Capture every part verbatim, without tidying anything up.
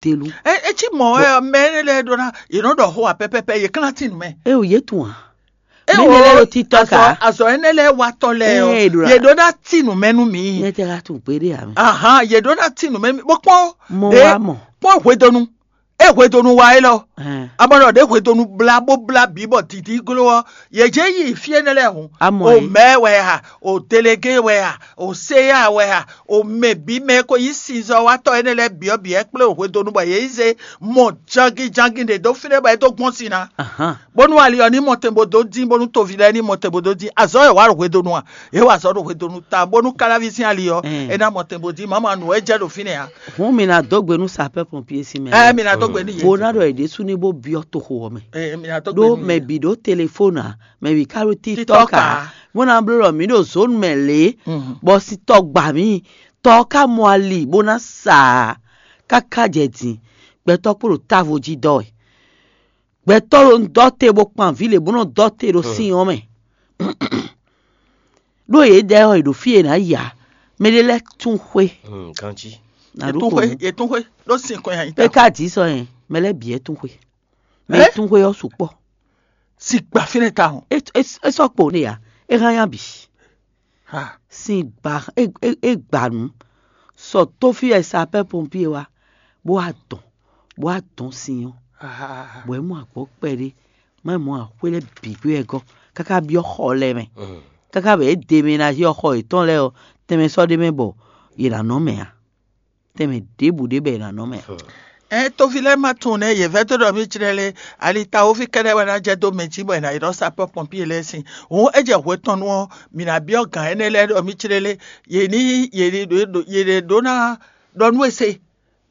delu. E e cí mɔ̌ wɛ ɔ́, mɛ énɛ́ lɛ́ɛ ɖó ná yě nɔ ɖɔ xó ǎ pɛ́pɛ́pɛ́, yě kán ná tín nǔ mɛ. É o yě tunwun a? Mɛ énɛ́ lɛ́ɛ ɖo títɔ́ azɔ ká. Azɔ énɛ́ lɛ́ɛ watɔ́ lɛ́ɛ Ée, ɔ́, ɖo yě ɖó ná tín nǔ mɛ nú mǐ. Nyɛ tɛ ka tunwun kpéɖé ǎ mɛ. Ahan, yě ɖó ná tín nǔ mɛ nú mǐ. Bó kpɔ́n Mɔ ɖě wá mɔ. Kpɔ́n hwedonu. É hwedonu wa élɔ́. Hɛn. Abɔnɔ ɖě hwedonu blá bó blá bǐ bɔ dǐdí gló ɔ́, yě jɛ yi fí énɛ́ lɛ́ɛ hǔn. Amɔ O é. Mɛ wɛ a, o delege wɛ a, o seya wɛ a, o mɛ bǐ mɛ e ko nyí sinzɔ́watɔ́ énɛ́ lɛ́ɛ bǐ ɔ́ bǐ wɛ kplé o hwedonu bɔ yě yi zé mɔ jangijangi ɖě dó fínɛ́ bɔ é dó gbɔn sin ná. Ahan. Bónú ali ɔ́ ní mɔ tɛn bó dó dín, bónú toví lɛ́ɛ ní mɔ tɛn bó dó dín. Azɔ̌ wɛ wǎ ɖo hwedonu a? Yě wa azɔ̌ ɖo hwedonu ta, bónú káláví sín ali ɔ́, Ɛn. É ná mɔ tɛn bó dín. Mama nǔ wɛ jɛ ɖo fínɛ́ a? Hǔn mi ná dó gbe nú sapɛ́ pɔnpié sín mɛ Ɛ lɛ́ɛ. Mi ná dó gbe nú yě. Bó ná ɖɔ yě ɖésú ní bó byɔ́ toxo ɔ́ mɛ. Ɛ mi ná dó gbe Ɖó nú mɛ yě. Bǐ ɖó telefónu ǎ, mɛ bǐ ka ɖó TikTok TikTok ǎ, ǎ. Bó ná bló ɖɔ mǐ ɖo zǒnu mɛ lě, Mhm. Bɔ sitɔ gbǎ mì, tɔ ɔ́ ka mɔ ali bó ná sa ǎ, káká jɛ din, gbɛtɔ́ kpo ɖo távo jí dɔ́ wɛ. Gbɛtɔ́ ɖo dɔ́ te bó kpan vǐ lě bó nɔ dɔ́ te ɖo sin ɔ́ mɛ. Ɖó yě dɛ ɔ́, è ɖo fí e è nǎ yi ǎ. Mɛ ɖé lɛ́ɛ tún xwé. Hmm, ganjí. Nǎ ɖó Yětún xwé, kɔnú. Yětún xwé ɖó sin kɔn nyi É ta. Ka dǐ sɔ yẹn, mɛ lɛ́ɛ bǐ wɛ tún xwé. Mɛ Ɛ? Tún xwé ɔ́ sukpɔ́. Sin gba fínɛ́ tawun. É é é sɔ́ kpo n'i ǎ. É hán nya bǐ. Ha. Sin gba é é é gba nǔ. Sɔ tó fí wɛ sapɛ́ pɔnpié wá, bó wá dɔn, bó wá dɔn sin ɔ́. Ha. Bɔ é mɔ agbɔ̌ kpɛɖé, má mɔ axwé lɛ́ɛ bǐ gbé wɛ gɔ́, káká byɔ́ xɔ lɛ́ɛ mɛ. Mm. Káká bɛ é deménazí ɔ́ xɔ yětɔn lɛ́ɛ ɔ́, tɛnmɛ sɔ́ ɖ'é mɛ bɔ yě ná nɔ mɛ ǎ. Tɛnmɛ ɖěbǔ ɖé bɛ yě ná nɔ mɛ ǎ. Ɛ toví lɛ́ɛ ma tunwun nɛ́ yě vɛ́ dó ɖɔ mì jlɛ́ lé, ali tawoví kɛ́ɖɛ́ wɛ ná jɛ dó mɛ jí bɔ è nǎ yi ɖɔ sapɔ́ pɔnpié lɛ́ɛ sín. Hǔn é jɛ hwetɔnnu ɔ́, mǐ ná byɔ́ gǎn énɛ́ lɛ́ɛ ɖɔ mì jlɛ́ lé, yě ní yě ní ɖo yě ɖě ɖó ná ɖɔ nú e se,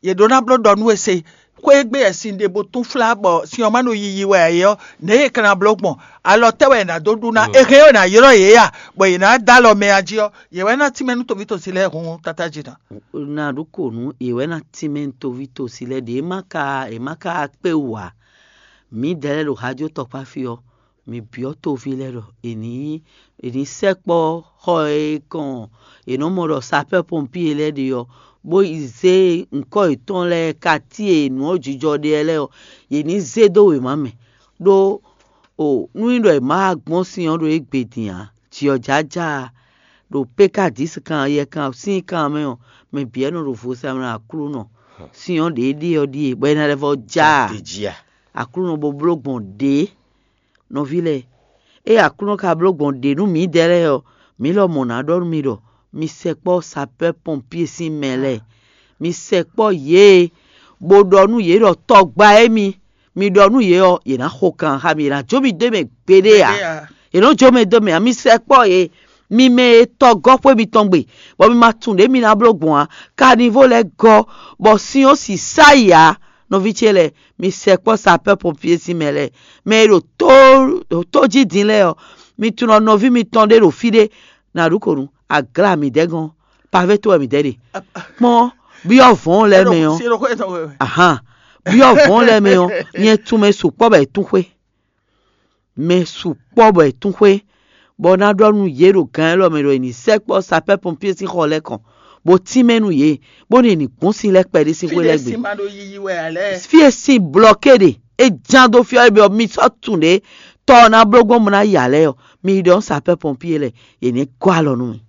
yě ɖó ná bló ɖɔ nú e se. Xwé e gbe wɛ sin ɖe bó tún flá bɔ sin ɔ́ ma ɖo yiyi wɛ ǎ é ɔ́, nɛ̌ yě ka ná bló gbɔn? Alɔ tɛ́ wɛ è nǎ dó ɖu ná? È hɛn ɔ́ è nǎ ylɔ́ yě a, bɔ yě ná dó alɔ mɛ a jí ɔ́, yě wɛ ná tínmɛ nú toví tosi lɛ́ɛ hun tátájí ná. Ná ɖó kò nú yě wɛ ná tínmɛ nú toví tosi lɛ́ɛ ɖě má ka è má ka kpé wú ǎ. Mǐdɛɛ lɛ́ɛ ɖo Hajo tɔkpá fí ɔ́, mǐ byɔ́ toví lɛ́ɛ ɖɔ è nǐ è nǐ sɛkpɔ́ xɔ e kɔn è nɔ mɔ ɖɔ sapɛ́ pɔnpié lɛ́ɛ ɖe ɔ́, bó yi zé ŋkɔ́ yětɔn lɛ́ɛ katíe nǔ ɔ́ jijɔ ɖe lɛ́ɛ ɔ́, yě ní zé dó wěma mɛ. Ɖó o nú nyí ɖɔ è má gbɔn sin ɔ́ ɖo égbé din ǎ, jǐ ɔ́ jájá ɖo pékadísi kan yɛkan sín kan mɛ ɔ́, mɛ bǐ wɛ nɔ ɖo vo sa mɛ Aklúnɔ. Sin ɔ́ ɖě ɖíe ɔ́ ɖíe, bɔ é ná lɛ́ vɔ́ já a? Aklúnɔ bó bló gbɔn ɖě. Nɔví lɛ́ɛ, ée Aklúnɔ ka bló gbɔn ɖě nú mǐdɛɛ lɛ́ɛ ɔ́, mǐ lɔmɔ̌ ná ɖɔ nú mi ɖɔ mi sɛkpɔ́ sapɛ́ pɔnpié sín mɛ lɛ́ɛ. Mi sɛkpɔ́ yě, bó ɖɔ nú yě ɖɔ tɔgba émí, mi ɖɔ nú yě ɔ́, yě ná xo kan xá mi, yě ná jó mi dó mɛ gbeɖé ǎ. Yě nɔ jó mɛ dó mɛ ǎ, mi sɛkpɔ́ yě, mi mɛ e tɔgɔ́ xwé mitɔn gbe, bɔ mi ma tunwun ɖě mi ná bló gbɔn ǎ. Kanivo lɛ́ɛ gɔ́, bɔ sin ɔ́ sisá yi ǎ. Nɔví ce lɛ́ɛ, mi sɛkpɔ́ sapɛ́ pɔnpié sín mɛ lɛ́ɛ, mɛ e ɖo tó ɖo tó jí din lɛ́ɛ ɔ́, mi tunwun nɔví mitɔn ɖé ɖo fí ɖé, nǎ ɖu kò nú aglá midɛɛ gɔ́n, pavé tó wɛ midɛɛ ɖe. Kpɔ́n, byɔ́ vɔ̌n lɛ́ɛ mɛ ɔ́, ahan, byɔ́ vɔ̌n lɛ́ɛ mɛ ɔ́, nyɛ tún mɛ sukpɔ́ bɔ è tún xwé. Mɛ sukpɔ́ bɔ è tún xwé, bɔ ná ɖɔ nú yě ɖo gǎn élɔ́ mɛ ɖɔ è nǐ sɛkpɔ́ sapɛ́ pɔnpié sín xɔ lɛ́ɛ kɔn, bó tínmɛ nú yě, bónú è nǐ gbɔn sin lɛ́ɛ kpɛɖé sín xwé lɛ́ɛ gbe. Fí e sin blɔ̌ ké ɖe, é ján dó fí ɔ́, é byɔ́ mi sɔ́ tunwun ɖě, tɔ ɔ́ ná bló gbɔn bó ná ya lɛ́ɛ ɔ́, mi yi ɖɔ nú sapɛ́ pɔnpié lɛ́ɛ, yě ní gɔ́ alɔ nú mi.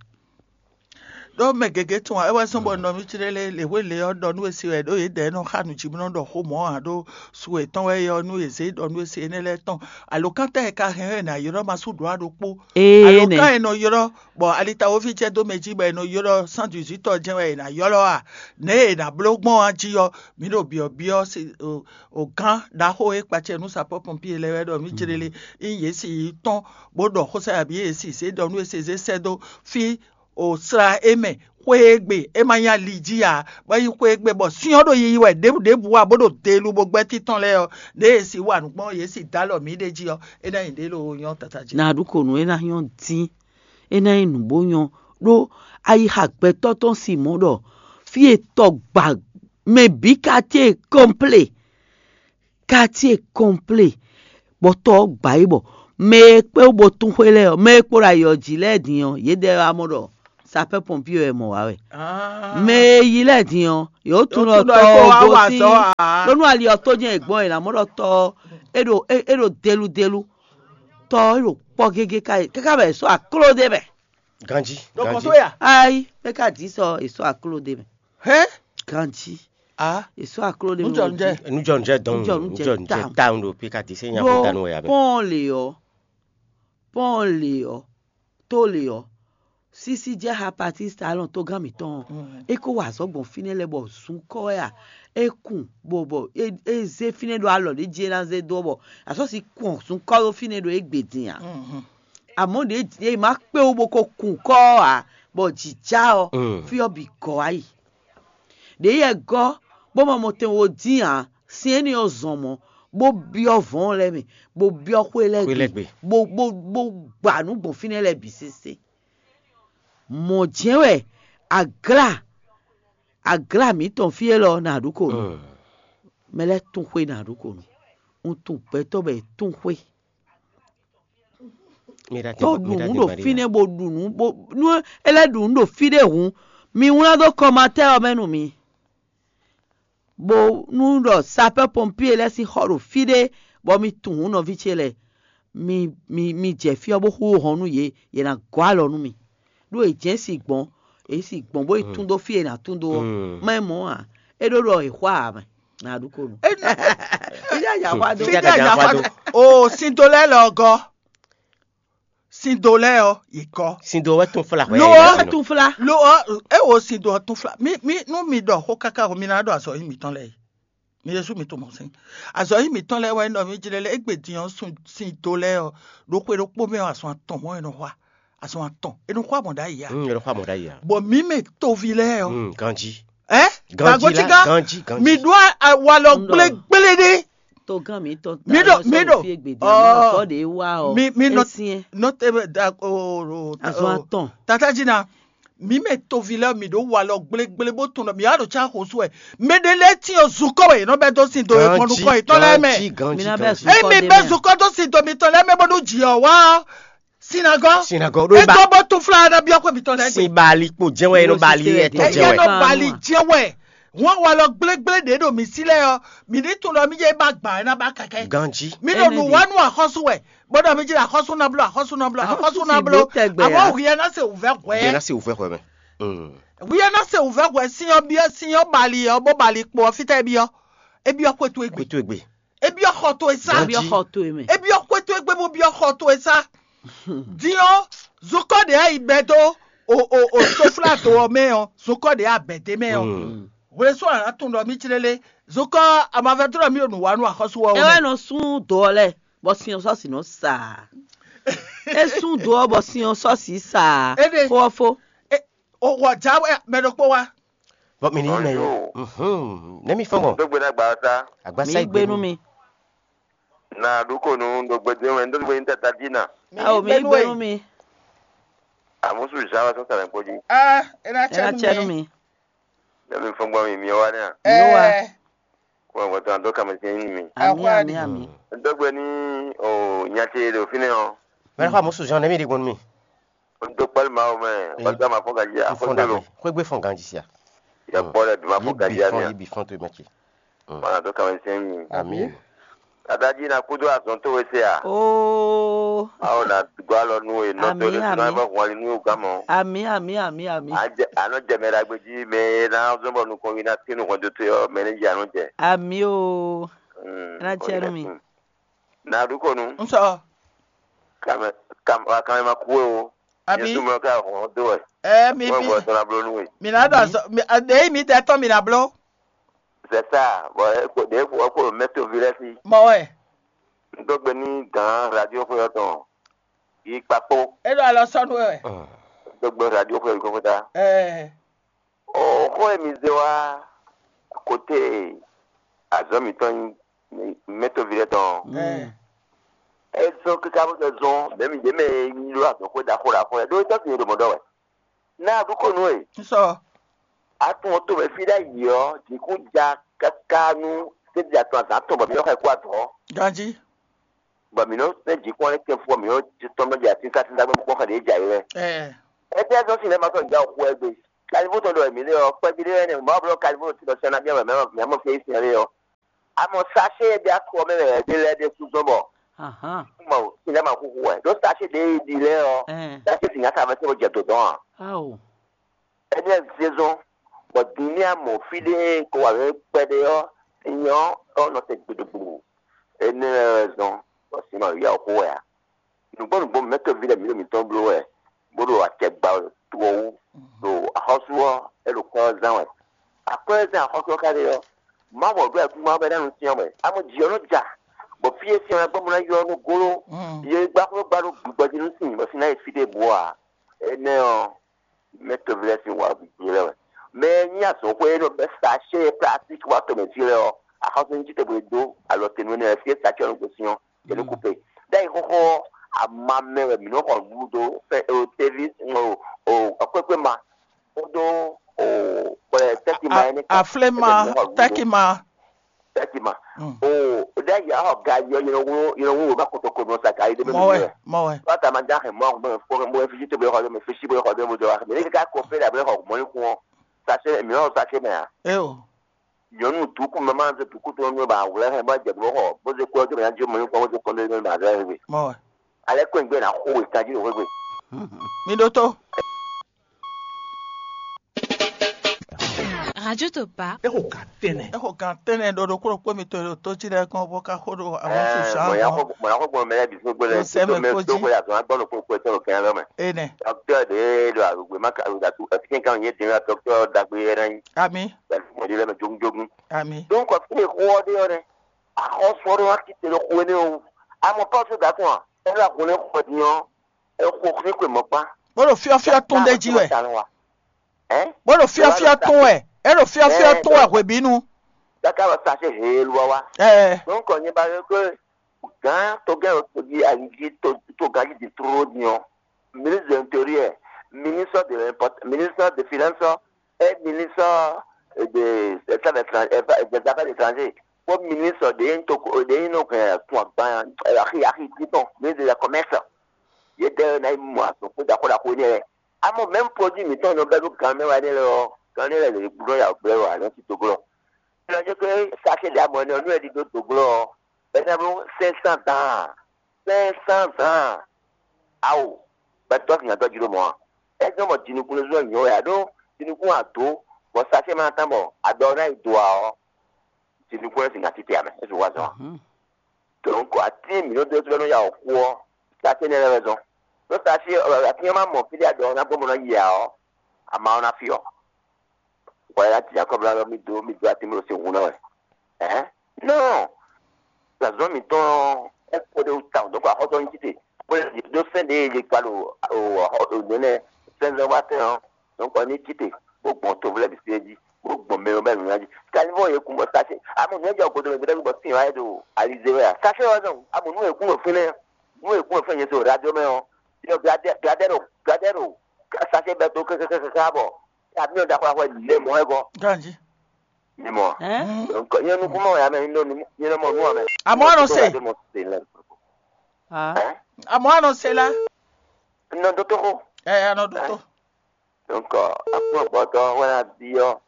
Ɖó mɛ gěgé tunwun ǎ, é wɛ zɔ́n bɔ nɔ mì clé lé lě hwe lě ɔ́ ɖɔ nú we se wɛ, ɖó yě dɛ nɔ xa nǔ jí bó nɔ ɖɔ xó mɔ̌ ǎ, ɖó su yětɔn wɛ é ɔ́, nú yě zé ɖɔ nú we se énɛ́ lɛ́ɛ tɔn. Alǒkan tɛ́ e ka hɛn wɛ è nǎ ylɔ́ ma sú ɖǒ aɖokpó? Énɛ́. Alǒkan e nɔ ylɔ́ bɔ alitawoví jɛ dó mɛ jí bɔ è nɔ ylɔ́ sán dǐzítɔ́ jɛ́n wɛ è nǎ ylɔ́ a? Nɛ̌ è nǎ bló gbɔn a jí ɔ́, mǐ ɖo byɔ̌byɔ́ o gán ɖaxó e kpacɛ nú sapɔ́ pɔnpié lɛ́ɛ wɛ ɖɔ mǐ clé lé, ényí yě si yi tɔ́n bó ɖɔ xó sá yě abǐ yě si zé ɖɔ nú we se zé sɛ́ dó fí o sla é mɛ xwé e gbe é ma nyí ali jí ǎ, bɔ é nyí xwé e gbe bɔ syɔ́n ɖo yiyi wɛ ɖěbǔ ɖěbǔ ǎ, bó ɖo delubo gbɛ́ títɔn lɛ́ɛ ɔ́, ɖěe è si wa nǔ gbɔn yě si dó alɔ mǐ ɖ'é jí ɔ́, é ná nyí ɖě loo nyɔ́ tata jí. Ná ɖu kǒ nú é ná nyɔ́ dín, é ná nyí nǔ bó nyɔ́, ɖó ayixa gbɛtɔ́ tɔn si mɔ̌ ɖɔ fí e tɔ gba mɛ bǐ ka ce kɔnplé. Quartier complet, bɔ tɔ ɔ́ gba yě bɔ mɛ e kpé wú bó tún xwé lɛ́ɛ ɔ́, mɛ e kpo ɖo ayǐ ɔ́ jí lɛ́ɛ din ɔ́, yědɛɛ wá mɔ ɖɔ sapɛ́ pɔnpié wɛ mɔ wǎ wɛ. Mɛ e yi lɛ́ɛ din ɔ́, yě wó tunwun ɖɔ tɔ ɔ́ gosín Ɖó nú ali ɔ́ tó jɛ́n è gbɔn è nǎ mɔ ɖɔ tɔ ɔ́, é ɖo é é ɖo deludelu. Tɔ ɔ́ é ɖo kpɔ́ gégé káká bɔ è sɔ́ akló ɖé mɛ. Ganji. Donc on Ganji. soit là. Ayi, é ka dǐ sɔ è sɔ́ akló ɖé mɛ. Hein? Ganji, Ah, è sɔ́ akló ɖé mɛ. Nú jɔ un jɛ. Nujɔnjɛ dɔn Nujɔ- nujɛ nujɔnjɛ down. Down ɖo pika ti se nya Ɖó ko danu wɛ abɛ. Pɔ́n le ɔ́, pɔ́n le ɔ́, tó le ɔ́, sísí jɛ ha patista alɔn tógán mǐtɔn ɔ́, é kó wa azɔ̌ gbɔn fínɛ́ lɛ́ɛ bɔ zun kɔ wɛ a, é kun bɔ bɔ é é zé fínɛ́ ɖo alɔ ɖě jí é ná zé dó ɔ́ bɔ asɔ́si kun zun kɔ ɖó fínɛ́ ɖo égbé din a. Amɔ̌ ɖě ɖě ma kpé wú bó ko kun kɔ ɔ́ ǎ, bɔ jǐ já ɔ́, Mm. fí ɔ́ bǐ gɔ́ wá yi. Ɖě yɛ gɔ́ bó ma mɔ tɛn wo dín ǎ, sin énɛ́ ɔ́ zɔn mɔ̌, bó byɔ́ vɔ̌ɔn lɛ́ɛ mɛ, bó byɔ́ xwé lɛ́ɛ Xwé lɛ́ɛ gbe, gbe. bó bó bó gba nǔ gbɔn fínɛ́ lɛ́ɛ bǐ sésé. Mɔ̌ jɛ́n wɛ aglá aglá mǐtɔn fí élɔ́ ná ɖu ko nɔ. Mm. Mɛ lɛ́ɛ tún xwé ná ɖu ko nɔ. Un tún gbɛtɔ́ bɔ è tún xwé. Mi ɖa Tɔ ɖu nǔ ɖo fínɛ́ bó ɖu nǔ bó nú é lɛ́ ɖu nǔ ɖo fí ɖé hǔn, mi wlán dó kɔmatɛ́ ɔ́ mɛ nú mi. Bó nú ɖɔ sapɛ́ pɔmpíe lɛ́ɛ sín xɔ ɖo fí ɖé, bɔ mi tunwun nɔví ce lɛ́ɛ, mi mi mi jɛ fí ɔ́ bó xú hɔn nú yě, yě ná gɔ́ alɔ nú mi. Ɖó è jɛ̌n si gbɔn, è si gbɔn bó yi tún dó fí e è nǎ tún dó ɔ́, má nyí mɔ̌ ǎ. É ɖó ɖɔ è xwá ǎ mɛ, nǎ ɖu ko nú. Fídí a yǎ xwá dó. Fídí a yǎ xwá dó. O sindo lɛ́ɛ lɔ gɔ́. Sindo lɛ́ɛ ɔ́, yě gɔ́. Sindo wɛ tún fla hwɛ. Lo ɔ́, Tún fla. Lo ɔ́, é wo sindo ɔ́ tún fla. Mi mi nú mi ɖɔ xó káká o, mi ná ɖɔ azɔ̌ nyi mǐtɔn lɛ́ɛ. Mi Jezu mi to mɔ sín. Azɔ̌ nyi mǐtɔn lɛ́ɛ wɛ nɔ mi jlɛ́ lɛ́ égbé din ɔ́ sun sindo lɛ́ɛ ɔ́ ɖo xwe ɖokpó mɛ ɔ́, azɔn atɔn mɔ̌ è nɔ xwa. Azɔn atɔn è nɔ xwa mɔ̌ ɖ'ayǐ a. Mm, yɛrɛ xɔ mɔ ɖ'ayǐ a. Bɔ mǐ mɛ toví lɛ́ɛ ɔ́. Mm, ganji. Ɛ Ganji gbàgbọ́ la, tígá ganji, ganji. mi ɖó awalɔ Ŋɖɔ. Gblégblé ɖé. Tó gán mi tɔn Mi ɖo- mi ɖɔ- fi egbe di ɔɔ, amɔ tɔ de wa ɔ. mi- mi nɔ- Esiɛ. Nɔ tɛ bɛ da o o Azɔn atɔn. Tata dzi na mi mɛ toví lɛ mi ɖo walɔ gblégblé bó tun nɔ mi wá ɖo tsa xo su ɛ. Mɛ ɖe lɛ ti o zukɔ wɛ nɔ bɛ dó si do e mɔnu kɔ etɔn lɛ mɛ. Mi na bɛ Ganji. zukɔ Emi de bɛ mɛ. Zukɔ dó si do mi tɔn lɛ mɛ bó ɖo dzi ɔ wá sinagɔ. Sinagɔ ɖo ba. Etɔ bó tún fla na biɔ kó mi tɔn lɛ Sin bali kpo jɛn wɛ no bali etɔn Eye jɛn wɛ. nɔ bali jɛ wɛ. Wọn walɔ gblégblé ɖe ɖo mi si lɛ ɔ mi ní tun ɖɔ mi yé ba gbà ɛ na ba kɛkɛ. Ganji. Mi ɖo nu wa nu axɔsu wɛ. Bó ɖɔ mi dzi axɔsu na blo axɔsu na blo axɔsu na blo. Tɛgbɛ Àmọ́ ya. òhìyɛ ná se òvẹ́ Bɛn hwẹ́. na se wòfɛ xɔ mɛ. Mm. Òhìyɛ ná se òvẹ́ hwẹ́ síyán bíọ́ síyán bali ɔ bó bali kpó ɔ fítẹ́ bíọ́. Ebiɔ kwetu egbe. Kutu egbe. Ebiɔ xɔ to esa. Bi ɔxɔ to yi mɛ. Ebiɔ kwetu egbe bó biɔ xɔ to esa. Diɔ zokɔ de ayi bɛ do o o o sofla do ɔ mɛ ɔ zokɔ de abɛ de mɛ ɔ. Mm. Wòle sɔ àná tún ɖɔ mí tsi lélẹ̀ zokɔ amavɛtɔ ɖɔ mí ɖo nǔ wa nú axɔsu wɔ Ewɛ wɛ. Nɔ sún dɔ lɛ bɔ sinyɔn sɔsi nɔ sa. E sún dɔ bɔ sinyɔn sɔsi sa. Ede. Fɔfɔ. O wɔ dza wɛ mɛ ɖokpó wa. Bɔn mi ni yi mɛ. Bonjour. Mhm. Ne mi fɔn bɔ. Dogbe na gba sa. Agbasa Mi yi gbenu mi. Na ɖu ko nu ɖo gbedo wɛ ndo gbe ta dina. Awo mi gbenu mi. Amusu jawa sɔ sara kpɔji. Ah, ena Ena tsɛ tsɛ nu nu mi. Mi. Ne mi fɔn gbɔ mi mi wa ne. Yehowa. Ɛɛ, Ko ŋgɔ tɔn do kame sin ni mi. Ami Awa ami ni. ami. Dogbe ni o nyati ɖo fi ne ɔ. Mɛ xɔ musu jɔn ne mi ɖi gbɔn mi. N do kpali ma o mɛ. Wasa ma fɔ gaji a Fɔn fɔ do. Xwegbe fɔn ganji sia. Ya kpɔ lɛ duma Yi fɔ gaji bi a fɔn yi mi. Bi fɔn to mɛ ce. Mana do kame sin mi. Ami. Tata ji na kudo azɔn to we se a. Oo. Awo na gba lɔ nu e nɔ to Ami, de ami. na ba hɔn ali nu ga mɔ. Ami ami ami ami. Anɔ jɛ mɛ ɖagbe ji mɛ na zɔn bɔ nukɔn wi na ti nu hɔn do to yɔ mɛ ne dzi anɔ jɛ. Ami o. Mm, Ena tsɛ nu mi. Na ɖu ko nu. N sɔ. Kame kam wa kame ma ku o. Abi. Yesu mɔ ka hɔn do wɛ. Ɛɛ, mi Wɔ bi. Bɔ sɔn na blo nu we. Mi na dɔ azɔ. Mi a de mi tɛ tɔn mi na blo. C'est ça. Bon, e ko de ko ko mɛ to vi lɛ si. Mɔ wɛ. N do gbe ni gan radio ko yɔ tɔn. Yi kpakpo. E ɖo alɔ sɔnu wɛ. N do gbe radio ko yɔ ko ta. Ɛɛ. O ko e mi ze wa kote azɔ mi tɔn mɛ to vi lɛ tɔn. Ɛɛ. E zɔn kika bó tɛ zɔn mɛ mi de mɛ yi lo azɔ ko da ko da ko. Do tɔ fi do mɔ dɔ wɛ. Na du ko nu e. N sɔ. Atún ɔ́ tomɛ fí ɖ'ayǐ ɔ́, jǐkún ja káká nú sɛ́dí atɔn azǎn tɔn bɔ mǐ nɔ́ xɔ ɛ kú azɔ̌. Ganji. Bɔ mǐ nɔ́ sɛ́ jǐkún ɔ́ lɛ́ kɛ́n fú ɔ́, mǐ nɔ́ tɔ́n nɔ́ ɖi atínsátínzá gbé kpɔ́n xɛ ɖě jɛ ayǐ wɛ. Ɛɛ. Étɛ́ zɔ́n sin lɛ́ɛ ma sɔ́ ja xú wɛ gbe? Kalifó tɔn ɖɔ mǐ lé ɔ́, kpɛví ɖé wɛ nɛ mɔ̌ blɔ́ kalifó tɔn sɛ́ ná byɔ́ mɛ mɛ mɔ fí é sin ɔ́ lé ɔ́. Amɔ sachet e ɖe akɔ mɛ wɛ ɖe lɛ́ɛ ɖe sú zɔn bɔ mɔ sinɛ ma xúxú wɛ ɖó sachet ɖe e ɖi lɛ́ɛ ɔ, sachet si nyaka mɛ tɛ́ bɔ jɛ dodɔn a? Ao. Énɛ́ zézɔn bɔ din ní amɔ fí ɖé ko wà lɛ́ kpɛɖé ɔ́, nyɔ ɔ́ nɔ te gbeɖegblu. Énɛ́ lɛ́ɛ wɛ zɔn bɔ sin ma yá xó wɛ a? Nǔgbó nǔgbó mɛ̌ tɔ́ví lɛ́ɛ mǐ ɖo mǐtɔn bló wɛ, bó ɖo acɛ gba wɛ to ɔ́ wú, ɖo axɔ́sú ɔ́, é ɖo kwɛ́ ɔ́ zán wɛ. Akwɛ́ ɔ́ zán axɔ́sú ɔ́ ká ɖe ɔ́, Mawu ɔ́ ɖó ayǐkúngban ɔ́ bɔ é ná nɔ cyɔ́n wɛ. Amɔ jǐ ɔ́ nɔ ja, bɔ fí e cyɔ́n ɛ gbɔn bó ná ywɔ́ nú góló, yě gbá xwé gbá ɖó gbigbɔ jí nú sin, bɔ sin ná yi fí ɖěbǔ ɔ́ ǎ. Énɛ́ ɔ́, mɛ̌ tɔ́ví lɛ́ɛ sín wǎ bǐ lɛ́ɛ wɛ. Mɛ e nyí azɔ̌xwé e nɔ bɛ́ sachet plastique wá tomɛ fí lɛ́ɛ ɔ́, axɔ́súzinkpo e dó alɔ te nú énɛ́ lɛ́ɛ fí e sachet ɔ́ nɔ gosín ɔ́, é nɔ kú pe. Ɖ'ayǐ xóxó ɔ́, ama mɛ wɛ mǐ nɔ xɔ nǔɖuɖu dó, fɛ o teví o o kpékpé ma kpódó o kplɛ tɛ́ki ma énɛ́ kpó. Afléma, tɛ́ki ma. Tɛ́ki ma. O ɖ'ayǐ axɔ ga yɔ yɛlɛ wúlò yɛlɛ wúlò bá kɔtɔ ko nɔ sa ga yi ɖé mɛ. Mɔ wɛ, mɔ wɛ. Bá ta ma dá hɛn mɔ mɔ fɔ mɔ fisi tó bɛ xɔ dó mɛ fisi bɛ xɔ dó mɛ dó wa mɛ ní ká kɔ fɛ dà bɛ xɔ mɔ ní kún ɔ́. Sase mǐ ɔ́ sase mɛ a? É o. Nyɔ̌nu dǔkú mɛ máa ń zé dǔkú tó nú bá wlɛ́ hɛn bá jɛ bó xɔ bó zé kú ɔ́ tó mɛ ná jó mɔ ní kún ɔ́ bó zé kɔn dó ní bá zɛ wé. Mɔ wɛ. Alẹ́ kó ń gbé ná xó wé tají ló xwé gbe. Mi ɖótó. Radio Topa. Exo gan tɛnɛ. Exo gan tɛnɛ ɖo ɖokpó ɖokpó mi to ɖo tó jí lɛ́ɛ kɔn bó ká xó ɖo àwọn tó sàn mɔ̀nyá kɔn. Xɔ mɔ̀nyá xɔ gbɔn mɛ lɛ́ɛ bǐ fún gbé lɛ Tó sɛmɛ tó mɛ kó tó jí. Xɔ yàtọ̀ agbọ́n ló kó kó tẹ́lẹ̀ kẹ́hìn lọ́mọ. Enɛ. Dɔkítɔ́ de ɖo àgbègbè má ka àgbègbè àti ẹ̀fíkẹ́ kan yé dín la dɔkítɔ́ dagbe yɛ náà yí. Ami. Pẹ̀lú mọ̀dé lẹ́nu jógúnjógún. Ami. Donc fún mi xó ɔ́ ɖé ɔ́ nɛ, àxɔ́sú ɔ́ ɖé wá kíte ɖo xó énɛ́ o. Àmọ́ pọ́sù dàtún à, ẹ lọ àgùn ní xɔ din ɔ́, ẹ xo xí kwe mɔ̌kpá. Bó ɖo fyɔ́fyɔ́ tún ɖé jí wɛ. Bó ɖo fyɔ́fyɔ́ tún wɛ. É ɖo fyɔ́fyɔ́ tún wɛ hwebǐnu. Káká wɛ sa ṣe hee lu wa wa. Ɛɛ. Donc nyɛ ba yɔ pé gán togán yɔ tojí ayiji togájí di tlóló din ɔ́, ministre de l'intérieur, ministre de l'import, ministre de finance, et ministre de des affaires étrangères, kpó ministre de yín to de yín nɔ hɛn kun agban axi axi titɔn, ministre de la commerce. Yě dɛ ná yi mɔ azɔn kpó ɖaxó ɖaxó énɛ́ lɛ́ɛ. Amɔ mɛ̌m produit mǐtɔn nɔ bɛ́ ɖó gan mɛ wá énɛ́ lɛ́ɛ ɔ́, gan énɛ́ lɛ́ɛ lě blɔ́ ya blɛ́ wá nɔ tito glɔ́. Lɔ jɛ kɛ sachet ɖe amɔ ɛnɛ ɔ́ nú ɛ ɖi dó do glɔ́ ɔ́, bɛ́ ná bló cinq cents dan, cinq cents dan. Awo, bɛ tɔ́ sin nyadɔ́ jí ɖó mɔ̌ a? É zɔ́n bɔ jinukúnlé zɔ́n nyɔ̌ wɛ a ɖó jinukún a dǒ, bɔ sachet ma ná tán bɔ aɖɔ ɔ́ ná yi do ǎ ɔ́, jinukúnlé sin ná títí amɛ, é su wá zɔn a? Donc atín mǐ nɔ dó sɔ́ nɔ ya wɔ xu ɔ́, sachet nɛ́ lɛ́ wɛ zɔn. Ɖó sachet atín ɔ́ ma mɔ fí ɖé aɖɔ ɔ́ ná gbɔn bó ná yi ǎ ɔ́, ama ɔ́ ná fyɔ́. Wala ti Jacob la mi do mi do ati mi ɖo sin hun na wɛ. Ɛhɛn. Non. Zazɔn mi tɔn ɛ kpo de ta donc axɔtɔ ni tite. Kpo de do sɛn de ye kpa lo o o nene sɛn zɔn ba tɛn ɔ. Donc ni tite. Bo gbɔn to vlɛ bi se ji. Bo gbɔn mɛ bɛ nuna ji. Kali bɔ ye kun bɔ sase. Amu ne jɔ godo mi bɛ bɔ sin wa do alize wɛ. Sase wa zɔn. Amu nu ye kun fene. Nu ye kun fene ye so radio mɛ ɔ. Yo gradero gradero. Sase bɛ to kekekeke bɔ. Avion da xɔ xɔ lɛ mɔ ɛ gɔ. Ganji. Ni mɔ. Hein? Donc nyɛ nukun mɔ ya mɛ ni do ni nyɛ mɔ nu amɛ. Amɔ anɔ se. Mo se lɛ. Ah. Hein? Amɔ anɔ se la. Nɔ do to ko. Eh, anɔ do to. Donc akpɔ gbɔtɔ wala bi ɔ.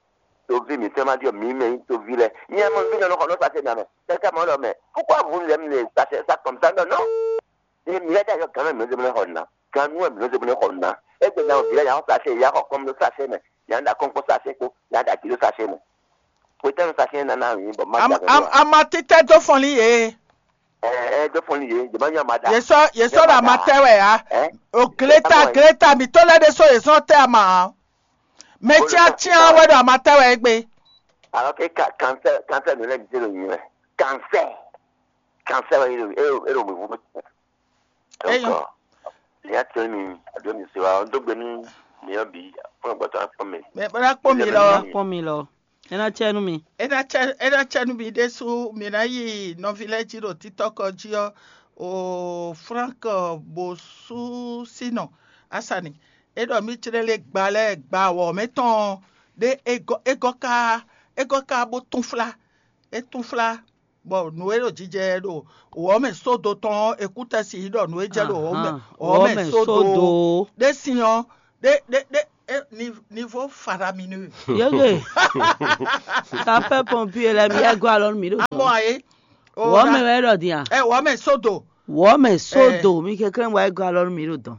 Tovi mi fɛn ma di ɔ mi mɛ yi tovi lɛ. Nyɛ mɔ vi nɔ nɔ xɔ nɔ sa se na mɛ. Kaka mɔ lɔ mɛ. Pourquoi vous aimez les ça comme ça? Non, non. Ye mǐ lɛ́ ɖo ayɔ gǎn mɛ mǐ nɔ zé bó nɔ xɔ nǔ ná. Gǎn nú wɛ mǐ nɔ zé bó nɔ xɔ nǔ ná. Égbé ná ví lɛ́ nya xɔ sachet, ya xɔ kɔ́m ɖó sachet mɛ, ya ɖo akɔ́nkpɔ́n sachet kpó, ya ɖo agě ɖó sachet mɛ. Hwetɛ́nu sachet ná ná wǐ bɔ má Am, ɖagbe am, ɖó ǎ. Ama títɛ́ dó fɔnlín yě. Ɛ ɛ dó fɔnlín yě, jɛ má nyɔ ama ɖa. Yě sɔ́ yě sɔ́ ɖo ama tɛ wɛ ǎ. Ɛ O gléta gléta mǐtɔn lɛ́ɛ ɖésú yě sɔ́ tɛ ama ǎ. Mɛ cyácyá wɛ ɖo ama tɛ wɛ égbé. Alors que ca- cancer cancer nɔ lɛ mi se lo nyi wɛ. Cancer cancer wɛ e ɖo e ɖo e ɖo mi wu. Eyɔn. Donc lia tɛ mi ado mi se wa ɔn dogbe nu mi yɔ bi fún gbɔtɔ akpɔ mi. Mɛ bana kpɔn mi lɔ. Kpɔn mi lɔ. Ena cɛ nu mi. Ena cɛ ena cɛ nu mi ɖésú mi ná yi nɔvi lɛ jí ɖo títɔkɔ jí ɔ o Frank Bosu sinɔ asani. E ɖɔ mi tlɛ le gba lɛ gba wɔ mɛ tɔn ɖe e gɔ e gɔ ka e gɔ ka bo tún fla e tún fla bɔ nǔ e ɖo jijɛ ɖo wɔ mɛ sódo tɔn ɔ́, e kú tɛ́ si ɖɔ nǔ e jɛ ɖo wɔ mɛ wɔ mɛ sódo ɖe sin ɔ́ ɖe ɖe ɖe É, niveau faramineux. Yége. Sapeur pompier lɛ́ɛ, mi yɛ gɔ́ alɔ nú mi ɖo. Amɔ ayé. Wɔ mɛ wɛ ɖɔ din a? Ɛ wɔ mɛ sódò. Wɔ mɛ sódò, mi kɛnklɛ́n wɛ gɔ́ alɔ nú mi ɖo dɔn.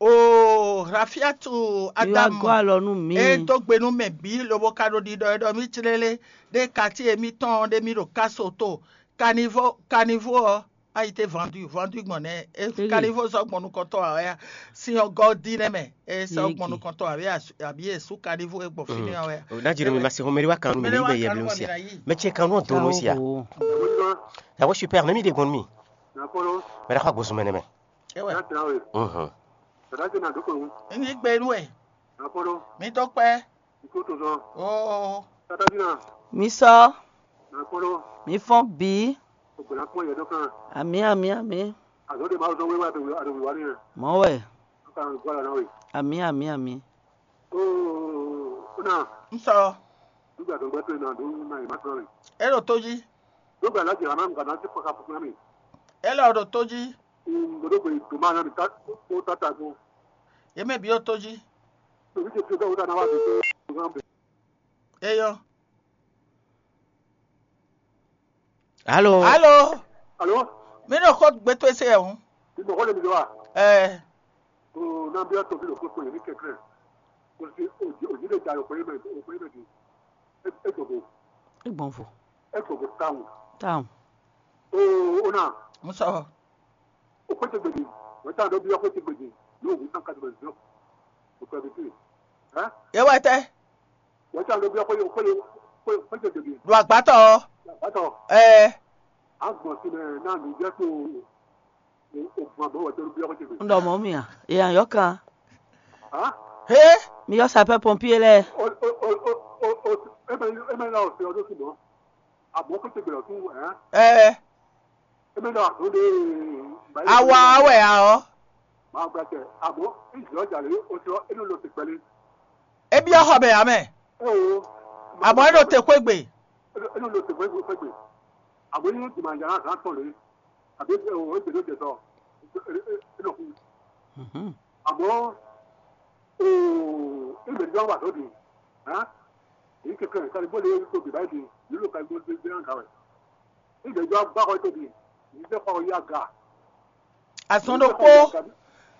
O Rafiatu. Mi wá Adamu. Gɔ́ alɔ nú mi. E dó gbe nú mɛ bǐ lobo ka ɖo ɖiɖɔ e ɖɔ mì clélé ɖe kati e mì tɔn ɖe mì ɖo káso to. Kanivo kanivo ɔ a yi te vendu vendu gbɔn nɛ. Kanivo sɔ gbɔn nukɔntɔ ɔ ya. Sin ɔ gɔ di nɛ mɛ. E sɔ gbɔn nukɔntɔ ɔ abi e su kanivo e gbɔn fini ɔ ya. Najiri mi ma se homeri wa kanu mi ne ibe yɛ mi sia. Mɛ tiɛ kanu ɔ donu sia. Yawo super ne mi de gbɔn mi. Mɛ ɖe xɔ agbosun mɛ nɛ mɛ. Ewe. Mhm. N yí gbe nú we. Mi dó kpɛ́. Oo. Mi sɔ. Mi fɔn bǐ. Amǐ, amǐ, amǐ. Mɔ̌ wɛ. Amǐ, amǐ, amǐ. N sɔ. É ɖo tó jí. É lɔ ɖo tó jí. Yě mɛ bǐ ɖo tó jí. Eyɔ. Alo. Alo. Alo. Mi ɖo xó gbe towe se wɛ hǔn. Mi mɔ xó lě mi ɖó a? Ɛɛ. O na byɔ́ toví ɖo kpókpó yě ní kɛnklɛ́n. Kò sí òjì òjì lè da òkpó yé mɛ òkpó yé mɛ di. É gbɔn vo. É gbɔn vo. É gbɔn vo tawun. Tawun. O o na. Mo sɔ. O xwé te gbèdè. Wọ́n tàn ló byɔ́ xwé te gbèdè. Yóò wí tàn kátó bẹ̀rẹ̀ zọ́. O pẹ̀lú tí. Ẹ́. Yé wá tẹ́. Wọ́n tàn ló byɔ́ xwé xwé xwé xwé te gbèdè. Ɖo àgbátɔ. Àgbátɔ. Ɛɛ. A gbɔn sí mɛ náà ló jẹ́ tó. N ɖɔ mɔ̌ mì a? È nyǐ ayɔ́kan. Hé! Mi ylɔ́ sapɛ́ pɔnpíé lɛ́ɛ. Ɛɛ. Awa wɛ a ɔ́? É byɔ́ xɔ mɛ ǎ mɛ. Amɔ̌ é ɖo te xwé gbe. Àbí é jɛ ló jɛ sɔ é nɔ kú. Àmọ́ oo é mɛ jɔ wà tó di hàn èyí kẹkẹ kálí bó lè tó bìbá yìí di yìí ló ka gbó dé dé hàn kàwé é mɛ jọ gbá kɔ tó di yìí dé kɔ yá ga. Azɔn ɖokpó.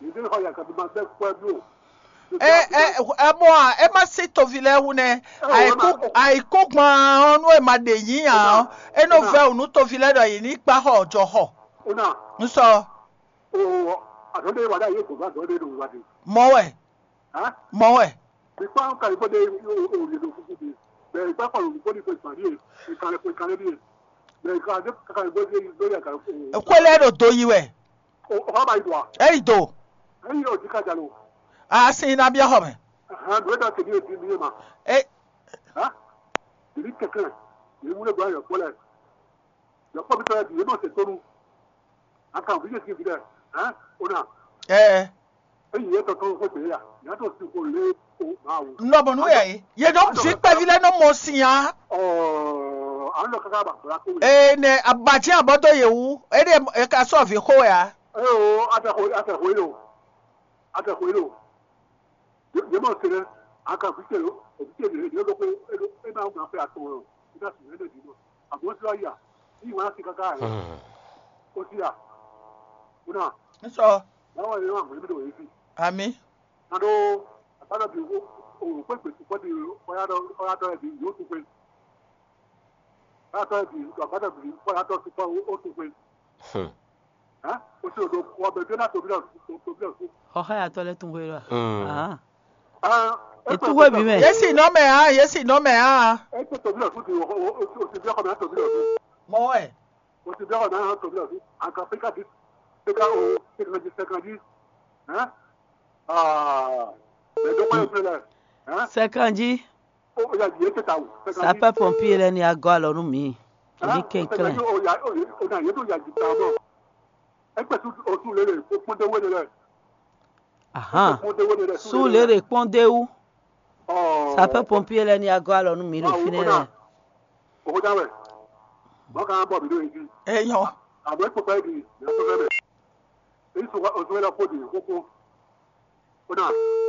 Yìí dé kɔ yá ga bí ma bẹ́ kpẹ́ bló. Ɛ ɛ ɛ mɔ a ɛ ma sí tovi lɛ wu nɛ. Ayiku ayiku gbɔn ɔnu ɛ ma ɖe yín nya ɔ ɛ nɔ vɛ wunu tovi lɛ ɖɔ yìí ní kpa xɔ jɔ xɔ. Nsɔ. Mɔ wɛ. Mɔ wɛ. Xwe lɛ ɖo do yi wɛ. Eyi do. A sin na biɔ xɔ mɛ. E. Yɔkpɔ́vítɔ́ lɛ́ɛ bǐ yě nɔ se tónú. A kan vǐ yě sín vǐ lɛ́ɛ, hɛ̌n? Ó ná. Ɛɛ. Ényí yě tɔn tɔn xó gbě ya, yě á tɔn sin xó lě kpo Mawu. Nɔ bɔ nú yɛ yé nɔ vǐ kpɛví lɛ́ɛ nɔ mɔ sin a. Ɔɔ, a nɔ káká ba gbla kó wɛ. Ee nɛ abajɛ abɔdɔ yɛ wu, e ɖe e ka sɔ vǐ xó wɛ a. Ee o, a tɛ xó, a tɛ xó yé lo, a tɛ xó yé lo. Yě mɔ se lɛ́ɛ, a kan vǐ ce lo, vǐ ce lě lě ɖokpó, é ɖo é ná ŋun afɛ atɔn ɔ́, é ná sixú ɛnɛ ɖi nɔ. Àmọ́ ó sì wá yà, ní ìwé láti káká ẹ̀. Ó sì yà. Ó náà. Ń sọ. Báwo ni wọ́n àmọ́ níbi tó yẹ sí? Àmì. Ná ɖó àbádọ́ bí òwò pé gbèsè kọ́ di kọ́yádọ́ kọ́yádọ́ ẹ̀ bí yóò tún pé. Kọ́yádọ́ ẹ̀ bí àbádọ́ bí kọ́yádọ́ tún pé ó tún pé. Hɛn. Xɔxɔyatɔ lɛ tun hwe ɖɔ. Ahan. Etu hwe bi mɛ. Yesi nɔ mɛ hã, yesi nɔ mɛ hã. Mɔ wɛ. Sɛkanji. Sapɛ pɔmpier lɛ ni agɔ alɔ nu mi. Èmi kɛnklɛn. Ahan. Su lere kpɔn de wu. Sapɛ pɔmpier lɛ ni agɔ alɔ nu mi ɖo finɛ lɛ. Eyɔ.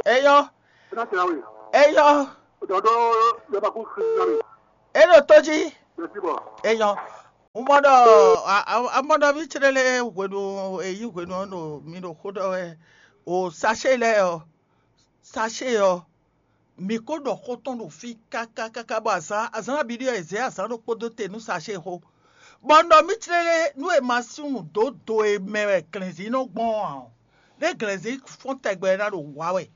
Eyɔ. Eyɔ, é ɖo tó jí. Eyɔ, mɔ ɖɔ amɔɖɔví clé lé hwenu, èyí hwenu ɔ́ ɖo mi ɖo xó ɖɔ wɛ. O sachet lɛ́ɛ ɔ́, sachet ɔ́, mi ko ɖɔ xó tɔn ɖo fí káká káká bɔ azǎn azǎn nabí ɖíe è zě azǎn ɖokpó dó te nú sachet xó. Bɔ un ɖɔ mì clé lé nú è ma sú nǔ dó do e mɛ wɛ glɛ̌nzin nɔ gbɔn ɔ́ ǎ, ɖé glɛ̌nzin fɔ́n tɛgbɛ ná ɖo wǎ wɛ.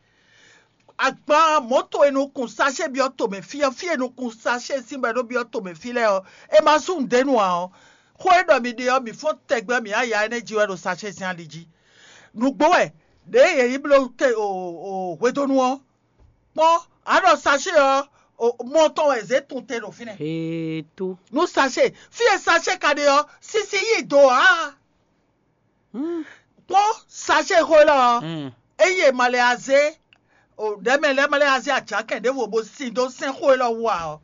Agban mɔ̌to e nɔ kun sachet byɔ́ tomɛ fí ɔ́, fí e nɔ kun sachet sín bɔ é nɔ byɔ́ tomɛ fí lɛ́ɛ ɔ́, è ma sú nǔɖé nu ǎ ɔ́, xó e ɖɔ mi ɖe ɔ́, mǐ fɔ́n tɛgbɛ mǐ á ya énɛ́ jí wɛ ɖo sachet sín ali jí. Nǔgbó wɛ ɖěe yě yi bló hwedónú ɔ́, kpɔ́n, a ɖɔ sachet ɔ́, mɔ tɔn wɛ zě tun te ɖo fínɛ́. Heto. Nú sachet, fí e sachet ka ɖe ɔ́, sisi yí do ǎ. Kpɔ́n sachet xó élɔ́ ɔ́, eye ma lɛ azé o ɖɛ̌ mɛ lɛ́ɛ ma lɛ azé ajǎkɛn ɖěvo bó sin dó sɛ́n xó élɔ́ wú ǎ ɔ́,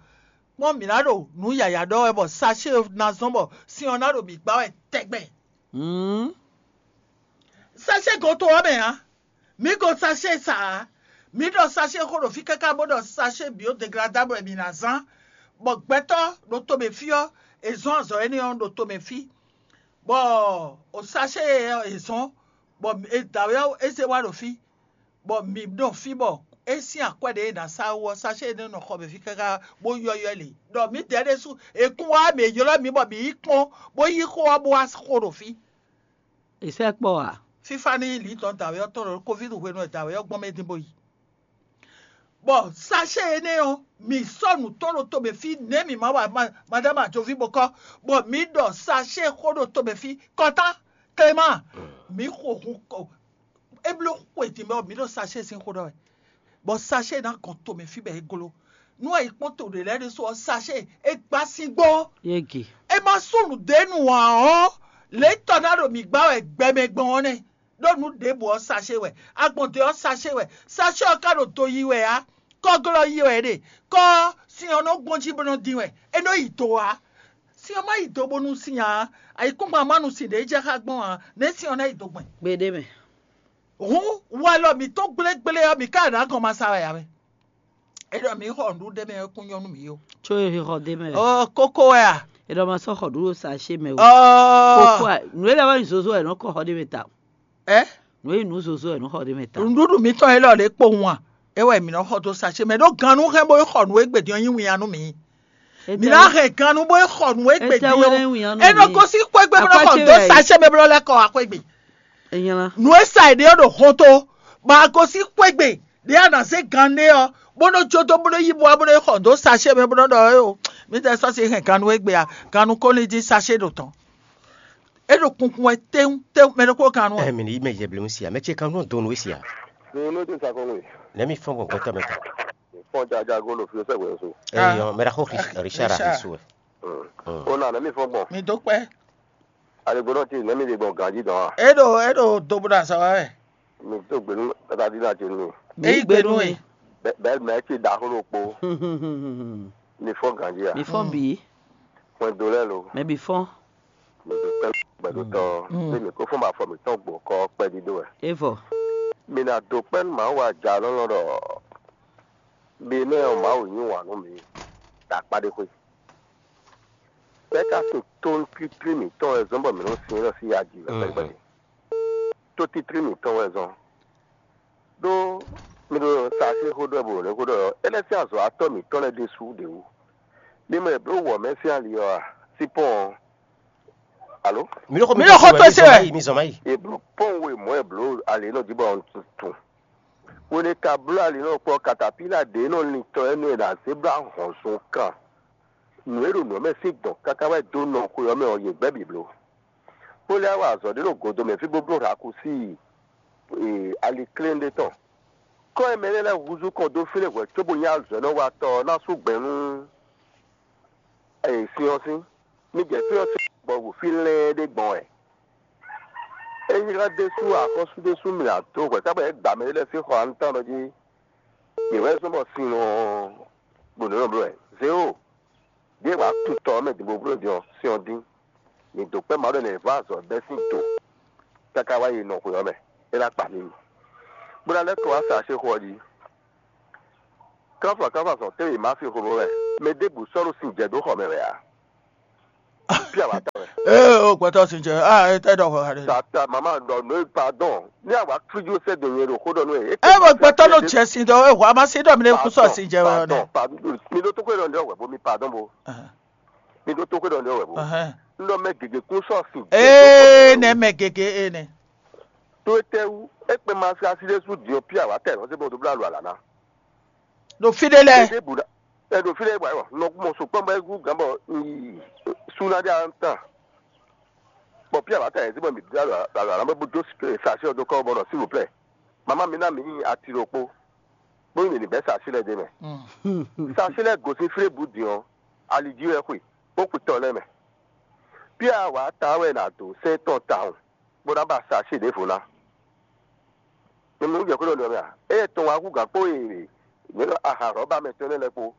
kpɔ́n mǐ ná ɖo nǔ yǎyá ɖɔ wɛ bɔ sachet ná zɔ́n bɔ sin ɔ́ ná ɖo mǐ gbá wɛ tɛgbɛ. Sachet gɔn to ɔ́ mɛ ǎ. Mǐ gɔn sachet sa ǎ. Mǐ ɖɔ sachet xó ɖo fí káká bó ɖɔ sachet biodegladable wɛ mǐ ná zán, bɔ gbɛtɔ́ ɖo tomɛ fí ɔ́, è zɔ́n azɔ̌ énɛ́ ɔ́ ɖo tomɛ fí, bɔ o sachet ɔ́ è zɔ́n, bɔ è dǎwe ɔ́ é zé wá ɖo fí, bɔ mǐ ɖo fí bɔ é sín akwɛ́ ɖě è nǎ sa wú ɔ́, sachet énɛ́ nɔ xɔ mɛ fí káká bó yɔ́yɔ́ lě, ɖɔ mǐdɛɛ ɖésú è kún wá mǐ ylɔ́ mǐ bɔ mǐ yi kpɔ́n bó yí xó ɔ́ bó wá xo ɖo fí. È sɛ́ kpɔ́ ǎ. Fífá ní lǐ tɔn dǎwe ɔ́ tɔn ɖo covid hwenu e dǎwe ɔ́ gbɔn mɛ dín bó yi. Bɔ sachet énɛ́ ɔ́, mǐ sɔ́ nǔ tɔn ɖo tomɛ fí nɛ̌ mǐ ma wa madama ajoví bó kɔ́, bɔ mǐ ɖɔ sachet xó ɖo tomɛ fí kɔ́tá. Clément, mǐ xo hun kɔ é bló xwe din bɔ mǐ ɖo sachet sín xó ɖɔ wɛ, bɔ sachet ná gɔn tomɛ fí bɔ é gló. Nú e yi kpɔ́n to ɖě lɛ́ɛ ɖésú ɔ́, sachet é gbá síngbó. Yége. É má sú nǔɖé nu ǎ ɔ́, lě tɔn ná ɖo mǐ gbá wɛ gbɛmɛ gbɔn ɔ́ nɛ́. Ɖó nǔ ɖěbǔ ɔ́ sachet wɛ, agbɔ̌n dó ɔ́ sachet wɛ, sachet ɔ́ ka ɖo do yi wɛ ǎ, kɔ́glɔ́ yi wɛ é ɖe, kɔ́ sin ɔ́ nɔ gbɔn jí bó nɔ dín wɛ, é nɔ yi do ǎ. Sin ɔ́ má yi do bónú sin ǎ, ayǐkúngban má nu sin ɖě jɛ xá gbɔn ǎ, nɛ̌ sin ɔ́ ná yi do gbɛn? Gbeɖé mɛ. Hǔn walɔ mǐtɔn gblégblé ɔ́, mǐ ka ɖo agɔn ma sa wɛ ǎ mɛ. É ɖɔ mǐ xɔ nǔɖuɖu ɖé mɛ ɔ́ kún nyɔ́ nú mǐ ó. Có e xɔ ɖ'é mɛ. Ɔ kókó wɛ a? É ɖɔ ma sɔ́ xɔ ɖǔɖu sa ṣé mɛ o. Ɔ Kókó a, nǔ e lɛ́ wá nyí zozo wɛ nɔ kɔ xɔ ɖ'é mɛ ta. Ɛ? Nǔ e nyí nǔ zozo wɛ nɔ xɔ ɖ'é mɛ ta. Nǔɖuɖu mǐtɔn élɔ́ lě kpowun a? É wɛ mǐ nɔ xɔ dó sa ṣé mɛ ɖó gannú hɛn bó xɔ nǔ e gbě din ɔ́ nyí winnyá nú mǐ. Mǐ ná hɛn gannú bó xɔ nǔ e gbě din ɔ́. É nɔ gosín xwé gbe bó nɔ xɔ dó sa ṣé mɛ bó nɔ lɛ́ kɔ wá xwé gbe. Nǔ e sa è ɖe ɔ́ ɖo hɔn tó, bɔ a gosín xwé gbe ɖě a nǎ zé gan ɖé ɔ́, bó nɔ́ jó dó bó nɔ́ yí bó wá bó nɔ́ yi xɔ dó sachet mɛ bó nɔ́ ɖɔ éo, mǐtɛɛ sɔ́ sin hɛn gannú égbé a, gannú kó ní dín sachet ɖo tɔn. É ɖo kunkun wɛ téwún téwún, mɛ ɖokpó gannú ɔ́. Ɛ mi ní yi mɛ yɛblɛ́ si a, mɛ ce kan nɔ dó nǔ we si a. Ní nú dé sa kɔn nwe. Nɛ̌ mi fɔ́n gbɔn gbɛtɔ́ mɛ tɔn? Fɔ́n jaja gó ɖo fí sɛ́ hwɛ so. Ɛ yɔ, mɛ ɖaxó Richard su wɛ. Ó nà nɛ̌ mi fɔ́n gbɔn? Mi dó kpɛ́. Aligbɔnɔ ce nɛ̌ mi ɖe gbɔn ganjí dɔn a? É ɖo é ɖo do bó ɖo azɔ̌ wa wɛ. Mi tó gbenu tata dín na ce nú mi. Mi yí gbe nú we. Bɛ́ mɛ ce ɖaxó ɖokpó. Mi fɔ́n ganjí a? Mi fɔ́n bǐ. Hwɛndo lɛ́ɛ lo. Mɛ bǐ fɔ́n. Mi tó tɛ́ gbɛdótɔ́. Ṣé mi kó fɔ́n ma fɔ mi tɔn gbɔn kɔ kpɛdídó wɛ? É vɔ. Mi ná dó kpɛ́ nú Mawu ajalɔ́lɔ́ ɖɔ mi nɛ́ ɔ́ Mawu yí wǎn nú mi ɖo akpá ɖé xwé. Bɛ́ ka sin tónútítí mǐtɔn wɛ zɔ́n bɔ mǐ nɔ́ sin élɔ́ sín ya jí wɛ kpɛɖé. Tótítí mǐtɔn wɛ zɔ́n. Ɖó mi ɖo sa sín xó ɖɔ bɔ nɛ́ xó ɖɔ é lɛ́ sín azɔ̌watɔ́ mǐtɔn lɛ́ɛ ɖésú ɖě wú. Mi mɔ è blǒ wɔ̌ mɛ sín ali ɔ́ a? Sípɔ́n ɔ́. Alo? Mi ɖo xó mi ɖo xó tó se wɛ. Mi zɔn ma yi. È blǒ pɔ́n we mɔ̌ è blǒ ali nɔ jí bɔ un tun. Hwenu e ka bló ali nɔ kpɔ́ katapíla ɖě nɔ lin tɔ énɛ́ ɖo azě bló ahɔ̌nzɔn kan. Nǔ e ɖo nǔ ɔ́ mɛ sín gbɔn káká wɛ dó nɔ xwe ɔ́ mɛ ɔ́, yě gbɛ́ bǐ bló. Bó lɛ́ wá azɔ̌ ɖé ɖo godo mɛ fí bó bló hǎkúsi aliklɛ́n ɖé tɔn. Kɔ́ e mɛ lɛ́ɛ lɛ́ húzú kɔn dó fínɛ́ hwɛ̌ cóbó nyí azɔ̌ e nɔ wa tɔ ɔ́ ná sú gbɛ̌ nú sin ɔ́ sín. Mi jɛ fí ɔ́ sín bɔ fí lɛ́ɛ ɖé gbɔn wɛ. Ényí ká ɖésú axɔ́sú ɖésú mlɛ adó hwɛ̌ ká bɔ é gba mɛ lɛ́ɛ sín xɔ anután ɖɔ jí yě wɛ zɔ́n bɔ sin ɔ́ ɖo nǔ nɔ bló wɛ. Zéwo, ɖěe wǎ kun tɔ ɔ́ mɛ din bó bló din ɔ́, sin ɔ́ dín. Mǐ dǒ kpɛ́ Mawu ɖɔ nɛ̌ vɔ́ azɔ̌ bɛ́ sín do káká wá yi nɔ xwe ɔ́ mɛ, é ná kpa mǐ yi. Bó ná lɛ́ kɔ wá sa axéxo ɔ́ jí. Kánfà kánfà sɔn tɛ́nwe má fi xomɛ wɛ. Mɛ ɖěbǔ sɔ́ ɖo sin jɛ dó xɔ mɛ wɛ ǎ. Pí awǎ ta wɛ. Ee, o gbɛtɔ sin jɛ, a e tɛ ɖɔ xɔ ha ɖe. Tata mama ɖɔ nɔ pardon. Ní àwa fíjú sɛ dò yẹn ɖo xó ɖɔ nú ɛ. E bɔ gbɛtɔ nɔ jɛ sin dɔ, e hwa ma sin dɔ mi ne kú sɔ sin jɛ wɛ ɔnɛ. Pardon, mi ɖó tó kó ɖɔ ní ɔwɛ bó mi pardon bó. Mi ɖó tó kó ɖɔ ní ɔwɛ bó. N ɖɔ mɛ gěgé kún sɔ sin. Ee, nɛ mɛ gěgé ee nɛ. Tó e tɛ wú, e kpɛ ma sika sí ɖé sú diɔ pí awǎ tɛ lɔ sí bɔ tó blá lu alǎ ná. Ɖo fí ɖé lɛ́ɛ. Ɖé bu ɛ ɖo fí ɖé bɔ nɔ mɔ sukpɔ́ bɔ é gú gǎn bɔ súná ɖé an tán. Bɔ pí awǎ tɛ yɛ sí bɔ mi blá lu alǎ ná bó jó sasi ɔ dó kɔ bɔ nɔ sílùplɛ. Mama mi ná mi nyi ati ɖokpó. Bó nyi mǐ ní bɛ́ sasi lɛ́ɛ d'é mɛ. Sasi lɛ́ɛ gosín fí ɖé bǔ din ɔ́, ali jí wɛ xwe, bó xwe tɔ lɛ́ɛ mɛ. Pí awǎ ta wɛ nǎ dó sɛ́n tɔn tawun, bó ná ba sasi ɖěvo ná. Mi mɔ jɛ xwé ɖɔ nɛ mɛ a? Ée tɔn wá hú gǎn kpó e mǐ ɖɔ aha rɔ̌ba mɛ tɔn nɛ́ lɛ́ɛ kpó.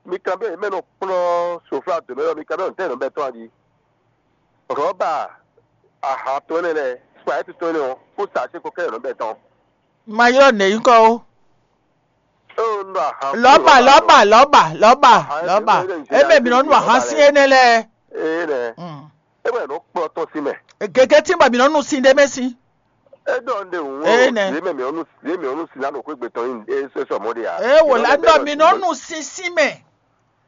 Mi kanbyɔ́ yě mɛ nɔ kplɔ́n soflá dǒ mɛ ɔ́, mi kanbyɔ́ nǔtɛ́ nɔ bɛ́ tɔn a jí? Rɔ̌ba aha tɔn nɛ́ lɛ́ɛ, spayɛ́ti tɔn nɛ́ ɔ́, kó sa así kó kɛ́ nɔ bɛ́ tɔn. Ma ylɔ́ nɛ̌ nyí kɔ ó. Lɔ̌ba, lɔ̌ba, lɔ̌ba, lɔ̌ba. Eme mǐ nɔ nu ahan sín énɛ́ lɛ́ɛ. Énɛ́. Mm. É wɛ nɔ kplɔ́ tɔn sín mɛ. Gěgé tín bɔ mǐ nɔ nu sin ɖé mɛ sín. É ɖɔ un ɖe hǔn Énɛ́. Yě mɛ mǐ nɔ nu yě mǐ nɔ nu sin ná ɖo xwé gbe tɔn nyi é sɔ́ sɔ mɔ̌ ɖe ǎ. É wò lá ɖɔ mǐ nɔ nu sin sín mɛ.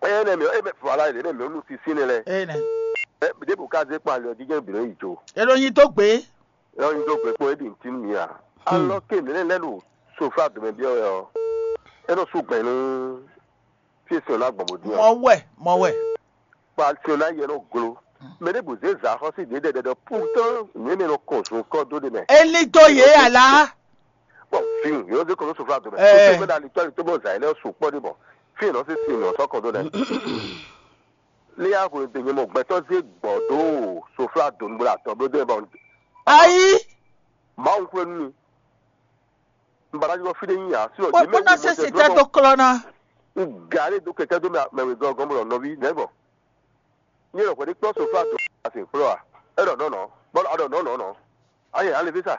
Énɛ́ mǐ é mɛ voilà yě mɛ mǐ nɔ nu sin sín nɛ lɛ. Énɛ́. Ɛ ɖěbǔ ká zé kpɔ́n ali ɔ́ jí jɛ́n bǐ nɔ yi jo. É ɖo nyi dó gbé. Lɔ nyi dó gbe kpɔ́n é ɖi nǔ tín nú mǐ ǎ. Alɔ ke nǔ énɛ́ lɛ́ɛ ɖo sofá dǒmɛ byɔ́ wɛ ɔ́, é nɔ sú gbɛn nú fí e sin ɔ́ ná gbɔn bó dín ɔ́. Mɔ wɛ, mɔ wɛ. Kpa sin ɔ́ ná yɛ nɔ glo. Mɛ ɖěbǔ zé zǎ xɔ́sí ɖě ɖɛɖɛ ɖɔ pútɔ́ nǔ énɛ́ nɔ kɔn zun kɔ́ dó ɖe mɛ. É lí dó yě ǎ lá. Bɔn fin yě nɔ zé kɔn dó sofá dǒmɛ. Ɛɛ. Tó fɛn ná li tɔ́ li tó bɔ zǎ yě lɛ́ɛ su kpɔ́ ɖé bɔ fí e nɔ sín sin nɔ sɔ́ kɔn dó lɛ́ɛ. Lé yá hwenu ɖé nyɛ mɔ gbɛtɔ́ zé gbɔ̌ dó soflá dǒnúgbla tɔn bló dó ɛ bɔ Ayi, Mawu xwé nú mi. Un ba ná jɔ fí ɖé nyi ǎ. Sinɔ bó yě mɛ bó ná wú se mɔ si tɛ tɛ dó klɔ́ ná. Un gǎ ɖé dó kɛkɛ́ dó mɛ mɛ wěgɔ́ gɔ́n bɔ nɔví nɛ̌ gbɔn? Nyɛ ɖɔ hwɛ̌ ní kplɔ́ soflá dǒ asi kplɔ́ ǎ. É ɖɔ nɔ̌ nɔ̌, bɔ a ɖɔ nɔ̌ nɔ̌ nɔ̌. Ayɛ alivisa.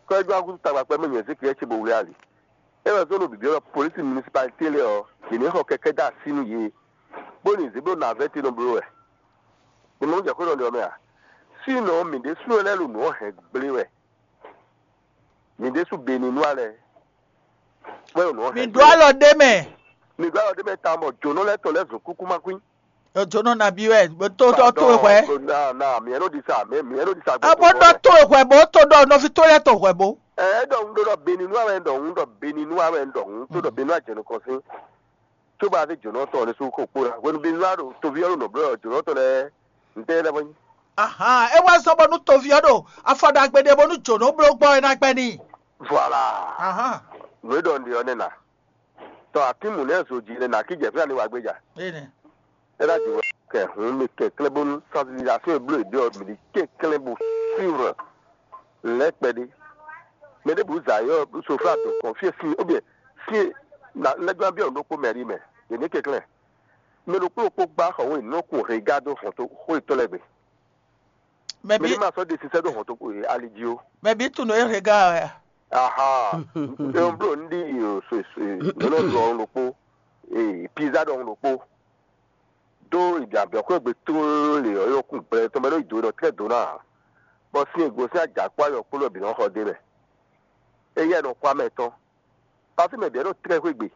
Kɔ́ ɛ gbá gúdo tagba kpɛ́ mɛ nyɛ Ezékiɛ́li ce bó wlí ali. É wɛ zɔ́n ɖo bǐbí ɔ́ polísi minisipalité lɛ́ɛ ɔ́, yě ní xɔ kɛkɛ́ dó así nú yě, bó ní zě bó nɔ avɛ́ te nɔ bló wɛ. Mi mɔ nú jɛ xwé ɖɔ ɖe ɔ́ mɛ a? Sínɔ mǐ ɖésúnɔ lɛ́ɛ ɖo nǔ ɔ́ hɛn gblé wɛ. Mǐ ɖésú Beninúa lɛ́ɛ wɛ ɖo nǔ ɔ́ Mi hɛn ɖó gblé wɛ. Alɔ ɖé mɛ. Mi ɖó alɔ ɖé mɛ tawun bɔ jǒnɔ lɛ́ɛ tɔn lɛ́ɛ zun kúkú má kwín. Jǒnɔ nabí wɛ bó tó ɖɔ tó hwɛ. Na na mǐ ɛnɔ ɖi sa mǐ mǐ ɛnɔ ɖi sa. Abó ɖɔ tó hwɛ bó tó ɖɔ nɔví tó lɛ́ɛ tó hwɛ bó. Ɛ ɖɔ un ɖɔ Beninúa wɛ ɖɔ un ɖɔ Beninúa wɛ ɖɔ un tó ɖɔ Beninúa jɛ nukɔn sín. Tso bá fi jǒnɔ tɔn ɖé sú xo kpó la hwenu Beninúa ɖo toví ɔ́ ɖo nɔ blɔ́ jǒnɔ tɔn lɛ́ɛ ntɛ lɛ́ɛ bɔ nyi. Ahan, é wá zɔ́n bɔnú toví ɔ́ ɖo afɔ ɖagbe ɖé bónú jǒnɔ bló gbɔ é ná gbɛ́ n'i. Voilà. Ahan. Nǔ e ɖɔ un ɖe ɔ́ nɛ́ na. Tɔ akínmǔ nɛ́ zo jí nɛ́ na kí jɛ fí ani wá gbéjà. Énɛ́. É ná jǐ wɛ kɛ hǔn mi kɛnklɛ́n bónú sensibilisation e bló yě ɖe ɔ́ mi ɖi kɛnklɛ́n bó suivre lɛ̌ kpɛɖé. Mɛ ɖěbǔ zǎ yɔ soflá dǒ kɔn fí e sín obyɛ sín e na lɛ́ gbán byɔ́ nǔ ɖokpó mɛ ɖi mɛ. Yě ní kɛnklɛ́n. Mɛ ɖokpó ɖokpó gbá xɔ wé nǔ kun hega dó hɔn tó xó yětɔn lɛ́ɛ gbe. Mɛ Mɛ bí ní ma sɔ́ ɖe sísɛ dó hɔn tó ali jí ó. Mɛ bí tunɔ é hega ɔ́ ya. Aha. Eun bló un ɖi so so nɔnɔ ɖu ɔn ɖokpó. Ee pizza ɖɔhun ɖokpó. Ɖó ìdí abɛ̌xwé gbe tlóló lě ɔ́ yɔkún gblɛ tɔn mɛ ɖó ìdó ɖɔ tlɛ́ dó ná ǎ. Bɔ sín e gosín ajǎkpó ayɔkpó lɔ bǐ nɔ xɔ d'é mɛ. Éyɛ́ nɔ xwá mɛ tɔn. Pasí mɛ bǐ nɔ tlɛ́ xwé gbe.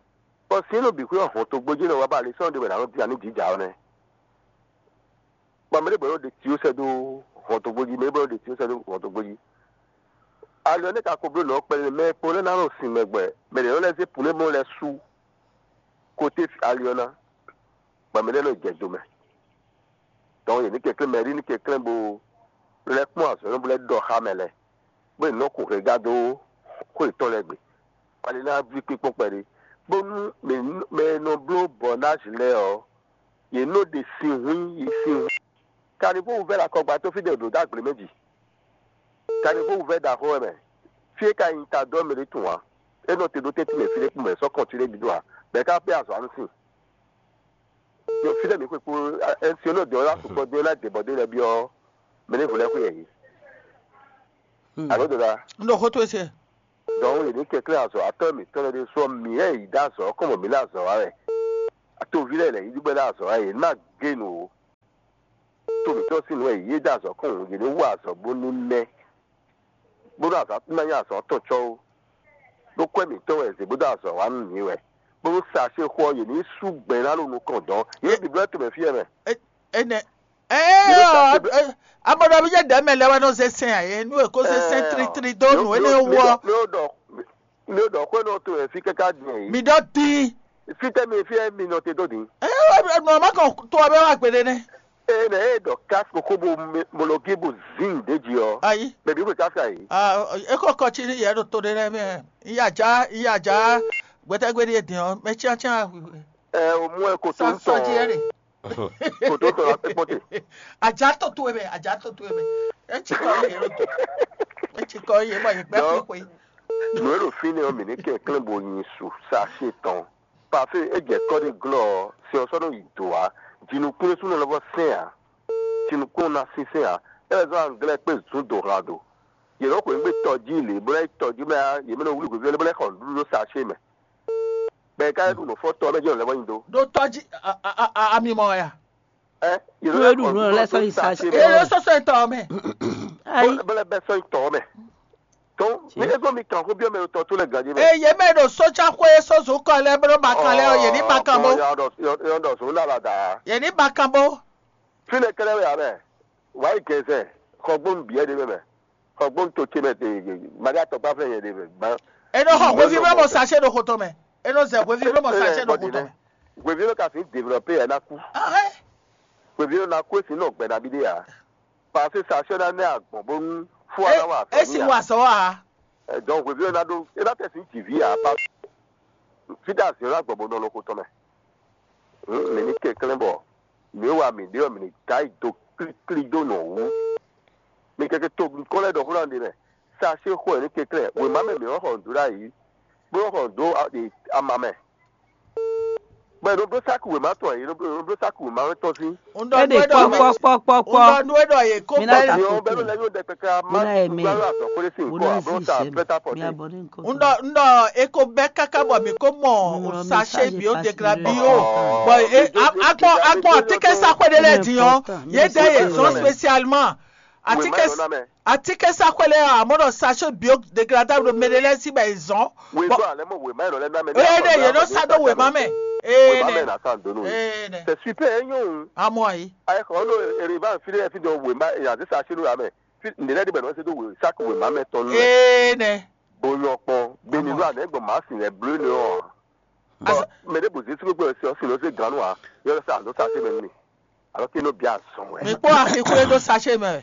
Bɔ sín nɔ bǐ xwé ɔ́ hɔn togbó jí nɔ wá ba ali sɔ́ ɖé wɛ nǎ nɔ dín anú jǐ jǎ ɔ́ nɛ́. Bɔ mɛ ɖé bɔ nɔ ɖe tio sɛ́ dó hɔn togbó jí, mɛ ɖé bɔ nɔ ɖe tio sɛ́ dó hɔn togbó jí. Ali ɔ́ nɛ́ ka ko bló nǔ ɔ́ kpɛɖé mɛ e kpo lɛ́ɛ ná nɔ sin mɛ gbɛ, mɛ ɖě nɔ lɛ́ zé pǔnébɔn lɛ́ɛ sú koté ali ɔ́ ná, bɔ mɛ lɛ́ɛ nɔ jɛ do mɛ. Dɔnku yě ní kɛnklɛ́n mɛ, yě ní kɛnklɛ́n bó lɛ́ kpɔ́n azɔ̌ bó lɛ́ ɖɔ xá mɛ lɛ́ɛ, bó yě nɔ kun hɛngán dó xwé yětɔn lɛ́ɛ gbe. Ali ná ví kpínkpɔ́n kpɛɖé, bónú mɛ e nɔ bló bɔnázi lɛ́ɛ ɔ́, yě nɔ ɖe sin hwín yi sin hwín. Kanivó wú vɛ́ ɖo akɔgba tó fí ɖě ɖo dó agble mɛ ji. Kanivó wú vɛ́ ɖaxó wɛ mɛ. Fí e ka nyi ta dó ɔ́ mɛ ɖé tunwun ǎ. É nɔ te ɖó tɛ́ntin mɛ fí ɖé kpó mɛ sɔ́ kɔn fí ɖé bǐ ɖo ǎ. Bɔ é ka kpé azɔ̌ anu sin. Ɖo fí ɖé mǐ xwe kpó ɛnsiɔnɔ dɔ̌n lá sukpɔ dó é ná dě bɔ dó lɛ́ byɔ́ mɛ ɖěvo lɛ́ɛ xwé yɛ yě. Alo dǒ ɖa. Un ɖo xó towe se. Dɔn yě ní kɛnklɛ́n azɔ̌watɔ́ mǐtɔn lɛ́ɛ ɖésú ɔ́, mǐ lɛ́ yě ɖó azɔ̌ ɔ́ kɔn bɔ mǐ lɛ́ azɔ̌ wa wɛ. To ví lɛ́ɛ lɛ̌ yí ɖó bɔ é ɖó azɔ̌ wa, yě ní ma gé nǔ ó. To mǐtɔn sín nǔ wɛ yě ɖó azɔ̌ kɔn, yě ní wa azɔ̌ bó ní mɛ, bónú azɔ̌ ná nyí azɔ̌ tɔn cɔ́ ó. Ɖó kwɛ́ mǐtɔn wɛ è zě bó dó azɔ̌ wa nú mǐ wɛ, bónú sa xó ɔ́, yě ní sú gbɛ̌ ná ɖo nukɔn dɔn. Yě bǐblɔ́ tomɛ fí ɛ mɛ. Énɛ́. Ée ɔ́, amɔɖɔví jɛ ɖɛ̌ mɛ lɛ́ɛ wɛ nɔ zé sɛn ǎ é, nú è ko zé sɛn tlítlí dó nǔ énɛ́ wú ɔ́. Mi ɖɔ xwé nɔ to wɛ fí káká din ɛ. Mi ɖɔ din. Fítɛ́ mi fí ɛ mi nɔ te dó din. Ée nɔ ma kàn to ɔ́ bɛ wá gbeɖé nɛ́. Ée nɛ é ɖɔ kási kókó bo mologi bo zin ɖě jí ɔ́. Ayi. Mɛ bí xwe kási ayi. É kɔ kɔ cí yɛ ɖo to ɖé lɛ́ɛ mɛ. Iya ja iya ja gbɛtɛgbɛ́ ɖíe din ɔ́ mɛ cyáncyán. Ɛ o mú ɛ kó tó ń tɔn. Kó tó tɔn la pépɔté. Ajá tó tó ebe ajá tó tó ebe. Etsi kɔ yé ló tó. Etsi kɔ yé bɔ yé gbɛ kpé kpé. Nǔ e ɖo fínɛ́ ɔ́ mǐ ní kɛnklɛ́n bo nyi su sa xé tɔn. Pafé é jɛ kɔ́ ɖé glɔ́ ɔ́, sin ɔ́ sɔ́ nɔ yi dǒ ǎ. Jinukún ɖésú nɔ lɛ́ vɔ sɛn ǎ. Jinukún ɔ́ ná sínsɛ́n ǎ. É wɛ zɔ́n anglɛ́ kpé zǔn dǒ hlan do. Yě nɔ xweyǐgbe tɔjí lě bó ná yi tɔjí mɛ ǎ, yě mɛ nɔ wlí hwevɛ́ lé bó ná yi xɔ nǔɖuɖu ɖó sa xé mɛ. Bɔ è ka lɛ́ ɖu nǔ fɔ tɔ ɔ́ mɛ jɛ́n lɛ́ vɔ nyi dó. Ɖó tɔjí ami mɔ ya. Ɛ yě Nú e ɖu nǔ lɛ́ɛ sɔ́ yi sa ṣe. Eye sɔsɔ etɔn mɛ. Ayi. Bó lɛ bɛ sɔ́ yi tɔ mɛ. Tó ní é gbọ́ mi kàn kó bí ọmọ ètò tó lè gàdí mɛ. Eye mɛ ɖo sójà xwé sózú kɔ lɛ bó ma kan lɛ yé ní ma kan bó. Yɔn dɔ sùn náà la dà. Yé ní ma kan bó. Fínɛ kɛlẹ́ wẹ̀ abẹ́. Wàá yi gẹ̀ẹ́sẹ̀ xɔgbónú bìyẹ́ ɖé mɛ. Xɔgbónú tó ce mɛ te mali atɔkpa fẹ́ yẹn ɖé mɛ gbán. Enɔ xɔ hwevi mɛ mɔ sachet ɖo xotɔ mɛ. Enɔ zɛ hwevi mɛ mɔ sachet ɖo xotɔ mɛ. Hwevi ló ka fi développé yɛ ná kú. Hwevi ló ná kú esi nɔ gbɛ nabí ɖé ǎ. Parce que sachet ná nɛ agbɔn bónú fún wa ná wà fẹ́. Esi wà sɔ wa. Donc hwevi ló ná ɖó é ná tɛ̀sí jìví ǎ. Fídà zǐn ɔ́ ná gbɔn bó nɔ ló xotɔ mɛ. Mǐ ní kɛnklɛ́n bɔ mǐ e wa mǐ ɖe ɔ́, mǐ ní dó ayi dó klíklí dó nɔ wú. Mi kɛkɛ to nukɔn lɛ́ɛ ɖɔ xó ná ɖe mɛ. Sa xó ɛ ní kɛnklɛ́n wěma mɛ mǐ nɔ xɔ nǔ dó ɖ'ayǐ, bó nɔ xɔ nǔ dó ama mɛ. Bɔ è nɔ bló sáku wěma tɔn ɛ, è nɔ bló sáku wěma tɔn sín. Éɖe kpɔ́kpɔ́kpɔ́kpɔ́. Ŋdɔ nú é ɖɔ yě kó bɛ́. Ní ɔ́ bɛ́ ló lɛ́ nyó ɖɛkpɛkɛ a má gbá ló azɔ̌ xó ɖé sín kɔ, a bló sa prêt à porter. Ŋdɔ ŋdɔ é kó bɛ́ káká bɔ mǐ kó mɔ sachet biodégradable bɔ agbɔn agbɔn atínkɛ́nsaxwé ɖé lɛ́ɛ din ɔ́, yě dɛ yě zɔn spécialement. Atínkɛ́nsaxwé lɛ́ɛ ɔ́, amɔ̌ ɖɔ sachet biodégradable ɖo mɛ ɖé lɛ́ɛ sí bɔ è zɔn. Wezɔn alɛ mɔ wema yɛ nɔ lɛ ná mɛ. Ee ɖe yě nɔ sa dó wema mɛ. Ee wema mɛ nɛ. Na sa ndo nù. Ee nɛ. C'est super, e nyɔ o. Amɔ ayi. Ayi xɔ ɔno ereva fi ɖe fi do wema e aze sa sinu amɛ. Fi ne lɛ de bɛ nɔ se do we sac wema mɛ tɔn nɛ. Ee nɛ. Bo nyɔ kpɔn beni do anɛ gbɔ ma si lɛ blu ne ɔ. Mɛ ɖe bo zesi gbogbo ɛ si ɔ si lɔ se ganu a yɔ sa ndo sa se mɛ ni. Alors que nɔ bia azɔn wɛ. Mi kpɔ axixwé ɖó sachet mɛ.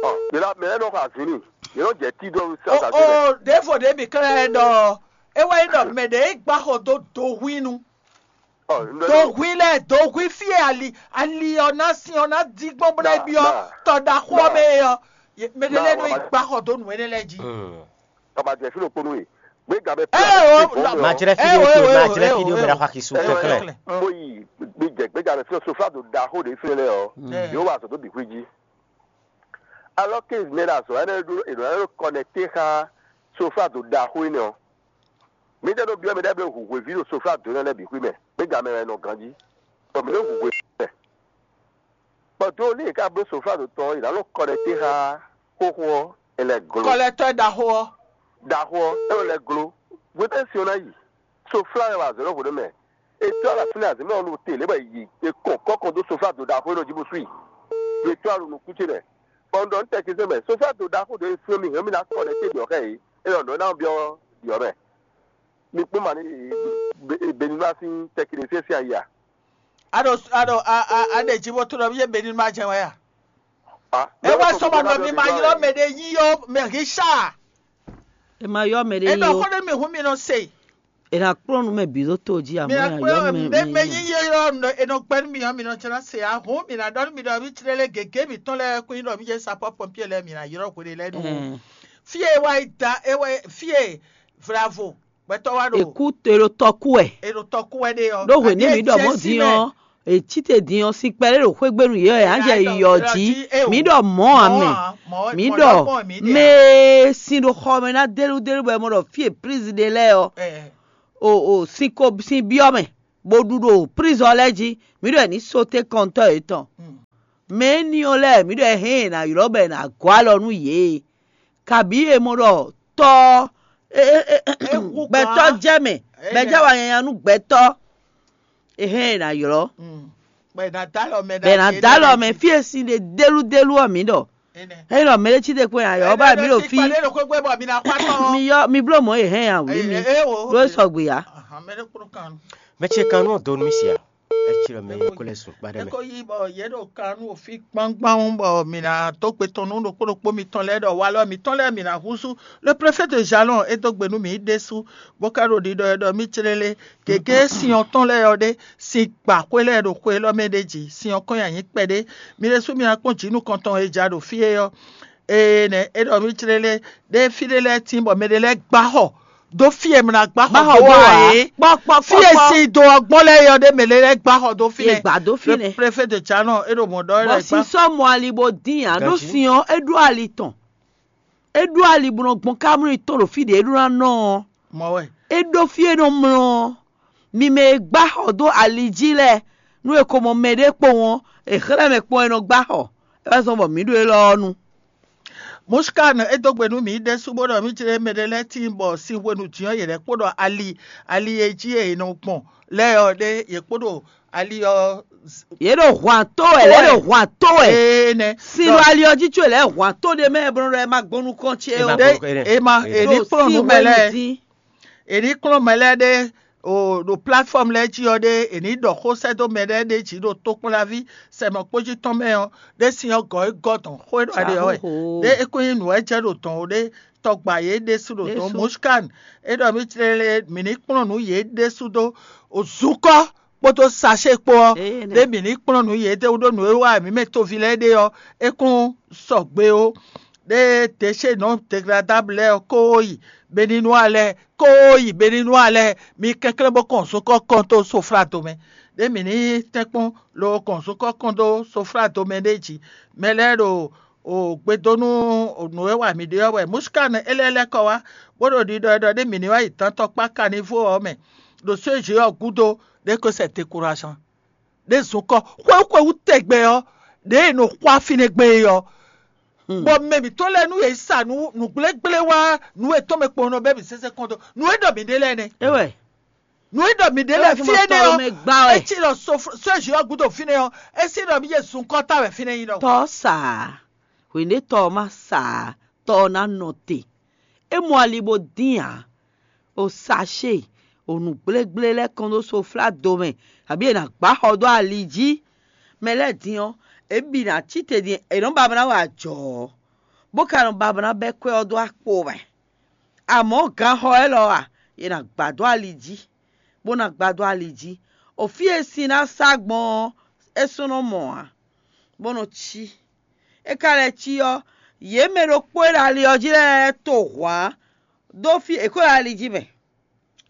Ɔ yɛlɛ mɛ yɛ nɔ xɔ azin ni yɛ nɔ jɛ ti dɔ sa sachet mɛ. O ɖevo ɖe mi klɛ ɖɔ e wɛ yi ɖɔ mɛ ɖe e gba xɔ do do hui nu. Do hui lɛ do hui fie ali ali ɔ na sin ɔ na di gbɔn bó na bi ɔ tɔ da xɔ mɛ ɔ mɛ ɖe lɛ nɔ yi gba xɔ do nu ɛnɛ lɛ ji. Ɔ ma jɛ fi ɖokponu e gbéga bɛ fi. Majrɛ fi ɖe to majrɛ fi ɖe bɛ ɖa xɔ akisu kɛkɛ. Mo yi gbéjɛ gbéga bɛ fi sofla do da xo ɖe fi lɛ ɔ yóò wá sɔ tó bi xwé jí. Alors que mɛ ɖo azɔ̌ énɛ́ ɖó è nɔ kɔnɛkte xá sofla do ɖaxó énɛ́ ɔ́, mǐtɛ́ ɖo byɔ́ mɛ ɖɛ́ bló hu hweví ɖo sofla do énɛ́ lɛ́ɛ bǐ xwí mɛ, gbéga mɛ wɛ nɔ ganjí, bɔ mǐ ɖo hu hweví mɛ. Bɔ dó ní è ká bló sofla do tɔn ɔ́, è nǎ nɔ kɔnɛkte xá xóxó ɔ́, è lɛ glo. Kɔlɛtɔ́ ɖaxó ɔ́. Ɖaxó ɔ́, é nɔ lɛ glo. Hwetɛ́ sin ɔ́ ná yi? Sofla wɛ wa zɔ̌ ɖɔhun ɖé mɛ. Etɔ́ ɖo afínɛ́ azǐmɛ ɔ́ nu te lě bɔ è yi è kɔn kɔ́ kɔn dó sofla do ɖaxó élɔ́ jí bó sú i. Etɔ́ ɖo nukún ce mɛ. Bɔ un ɖɔ nú tɛkisɛn mɛ, sofla do ɖaxó ɖě e flɔ́n mì hɛn mì ná kɔ ɖɛ té ɖiɔ̌ xá yě, é ɖɔ nǔ e ná byɔ́ ɖiɔ̌ mɛ. Mi kpɔ́n ma ní Benilúa sín tɛkisɛn sín ayi a? A ɖo a ɖo a a a ɖe jí bó tlɔ́ yé Benilúa jɛ wɛ a? É wá sɔmɔ nɔ mi ma ylɔ́ mɛ ɖé yí ɔ́ mɛ Richard. È ma ylɔ́ mɛ ɖé yí ó. È nɔ xó ɖé mi hun mi nɔ se. È nǎ kplɔ́n nú mɛ bǐ ɖó to jí amɔ̌ è nǎ ylɔ́ mɛ mɛ yí yí ɔ́. È nɔ gbɛ́ nú mi ɔ́ mi nɔ jlá se ahun mi ná ɖɔ nú mi ɖɔ mí tlé lé gěgé mǐtɔn lɛ́ɛ kún nyí ɖɔ mí jɛ sapɔ́ pɔnpié lɛ́ɛ mǐ ná ylɔ́ hwe ɖé lɛ́ɛ ɖu. Fí e wá yi da é wɛ fí e vlavo gbɛtɔ́ wá ɖo. Èkú èrò tɔkú ɛ. Èrò tɔkú ɛ ɖe ɔ́. Ɖó hwě ní mi ɖɔ mɔ̌ dín ɔ́. È cí te din ɔ́, sin kpɛɖé ɖo xwégbénu yě wɛ, anjɛ yɔ jí. Mǐ ɖɔ mɔ̌ ǎ mɛ. Mǐ ɖɔ mɛ e sin ɖo xɔ mɛ ná délúdélú bɔ è mɔ ɖɔ fí e prizin ɖe lɛ́ɛ ɔ́, o o sin ko sin byɔ́ mɛ, bó ɖu ɖo prizɔn lɛ́ɛ jí. Mǐ ɖɔ è ní sóté kɔntɔ́ yětɔn. Mɛ éní ɔ́ lɛ́ɛ, mǐ ɖɔ è hɛn è nǎ ylɔ́ bɔ è nǎ gɔ́ alɔ nú yě. Kabǐ è mɔ ɖɔ tɔ́ gbɛtɔ́ jɛ mɛ, bɔ è jɛ wa nyanya nú gbɛtɔ́. È hɛn è nǎ ylɔ́. Bɛ ná dó alɔ mɛ fí e sin ɖe délúdélú ɔ́, mǐ ɖɔ. Ényí ɖɔ mɛ ɖé cí te kpo nyi ayɔ ɔ́, bá mǐ ɖo fí. Mi yɔ mi bló mɔ̌ e hɛn ya wǔ mi. Ɖó é sɔgbe ǎ. Mɛ ce kan nú ɔ́ dó nú mì sia. É cí ɖɔ mɛ e ko lɛ́ sun kpa ɖɛ mɛ. Ko yí bɔ yě ɖo kan nú òfin gbangban bɔ mǐ ná dó gbe tɔn nú ɖokpó ɖokpó mitɔn lɛ́ɛ ɖɔ walɔ mǐtɔn lɛ́ɛ mǐ ná húzú. Le préfet de Jalon é dó gbe nú mǐ ɖésú, bó ka ɖo ɖiɖɔ ɛ ɖɔ mì clélé. Gěgé sin ɔ́ tɔn lɛ́ɛ ɔ́ ɖé, sin gbǎxwé lɛ́ɛ ɖo xwe élɔ́ mɛ ɖé jí, sin ɔ́ kɔn nyi ayǐ kpɛɖé. Mi ɖésú mi ná kpɔ́n jǐnukɔntɔn e ja ɖo fí é ɔ́. Ee nɛ́ é ɖɔ mì clélé ɖé fí ɖé lɛ́ɛ tín bɔ mɛ ɖé lɛ́ɛ gbá xɔ dó fí e mla gbá xɔ dó wá é. Kpɔ́kpɔ́ fí e sin do ɔgbɔn lɛ́ɛ yɔ ɖé mɛ ɖé lɛ́ɛ gbá xɔ dó fínɛ́. Gbá dó fínɛ́. Préfet de Jalon é ɖo mɔ̌ ɖɔ é lɛ́ɛ gbá. Bɔ sin sɔ́ mɔ ali bó dín ǎ ɖó sin ɔ́ é ɖó ali tɔn. É ɖó ali bó nɔ gbɔn kámlú tɔn ɖo fí ɖě é ɖó ná nɔ ɔ́. Mɔ̌ wɛ. É ɖó fí e nɔ mlɔ́ ɔ́. Mi mɛ e gbá xɔ dó ali jí lɛ́ɛ, nú è ko mɔ mɛɖé kpowun ɔ́, è xlɛ́ mɛ kpɔ́n e nɔ gbá xɔ. É wá zɔ́n bɔ mǐ ɖo élɔ́ ɔ́ nu. Mushkan é dó gbe nú mǐ ɖésú bó ɖɔ mì jlé mɛ ɖé lɛ́ɛ tíin bɔ sin hwenu din ɔ́ yě lɛ́ kpo ɖɔ ali ali e jí è nɔ gbɔn lɛ́ɛ ɔ́ ɖé yě kpo ɖo ali ɔ́. Yě ɖo hwan tó wɛ, lɛ́ ɖo hwan tó wɛ. Ee nɛ. Sin ɖo ali ɔ́ jí có lɛ́ hwan tó ɖé mɛ bɔ nɔ ɖɔ ɛ ma gbɔn nukɔn ce ó. Ɖé ema è ní kplɔ́n nú mɛ lɛ́ɛ. È ní kplɔ́n mɛ lɛ́ɛ ɖé o ɖo plateforme lɛ́ɛ jí ɔ́ ɖé è ní ɖɔ xó sɛ́ dó mɛ lɛ́ɛ ɖé jí ɖo tokpɔ́nlaví sɛmɔkpójí tɔn mɛ ɔ́ ɖé sin ɔ́ gɔ̌ é gɔ́ dɔn xó e ɖɔ aɖe ɔ́ wɛ. Ɖé é kún nyí nǔ wɛ jɛ ɖo dɔn ó ɖé tɔgbǎ yě ɖésú ɖo dɔn. Mushkan é ɖɔ mì tlélé mǐ ní kplɔ́n nǔ yě ɖésú dó zukɔ́ kpódó sachet kpó ɔ́. Ɖé mǐ ní kplɔ́n nǔ yě ɖésú ɖó nǔ e wa mǐ mɛ toví lɛ́ɛ ɖe ɔ́ é kún sɔgbe ó. Ɖé déchets non dégradables lɛ́ɛ ɔ́ kó yi Beninois lɛ́ɛ kó yi Beninois lɛ́ɛ, mi kɛnklɛ́n bó kɔn zokɔ́ kɔn dó soflado mɛ. Ɖé mǐ ní tɛ́nkpɔ́n lo kɔn zokɔ́ kɔn dó soflado mɛ ɖé jí. Mɛ lɛ́ɛ ɖo o gbe dó nú nǔ e wa mǐ ɖe ɔ́ wɛ. Mushkan é lɛ́ lɛ́ kɔ wá, bó ɖo ɖiɖɔ ɖɔ ɖé mǐ ní wá yi dantɔkpá caniveau ɔ́ mɛ, ɖo sézé ɔ́ gúdo ɖé ko sɛ décourageant. Ɖé zɔn kɔ xwéxwéwú tɛgbɛ ɔ́, ɖě è nɔ xwá fínɛ́ gbɛn é ɔ́. Bɔ mɛ mǐtɔn lɛ́ɛ nú yě sa nǔ nǔgblégblé wá nǔ e tɔn mɛ kpɔ́n nɔ bɛ́ mǐ sésé kɔn dó nǔ e ɖɔ mǐ ɖe lɛ́ɛ nɛ́. É wɛ. Nǔ e ɖɔ mǐ ɖe lɛ́ɛ fí énɛ́ ɔ́, é cí ɖɔ sózì ɔ́ gúdo fínɛ́ ɔ́, é sí ɖɔ mǐ yě zun kɔ́ ta wɛ fínɛ́ nyí ɖɔ. Tɔ́ sa ǎ, hwěɖétɔ́ ɔ́ má sa ǎ, tɔ́ ɔ́ ná nɔ te. É mɔ ali bó dín ǎ. O sachet, o nǔgblégblé lɛ́ɛ kɔn dó soflado mɛ, abǐ è nǎ gbá xɔ dó ali jí. Mɛ lɛ́ɛ din ɔ́, è bǐ ná cí te din è nɔ́ ba ná wa ajɔ̌ ɔ́, bó ka nɔ ba ná bɛ́ kwɛ́ ɔ́ dó akpo mɛ. Amɔ̌ ganxɔ élɔ́ a, è nǎ gbá dó ali jí, bó ná gbá dó ali jí. O fí e sin ná sá gbɔn ɔ́, é sɔ́ nɔ mɔ ǎ, bó nɔ cí. É ka lɛ́ cí ɔ́, yě mɛ ɖokpó e ɖo ali ɔ́ jí lɛ́ɛ to hwǎn dó fí è kó ɖo ali jí mɛ.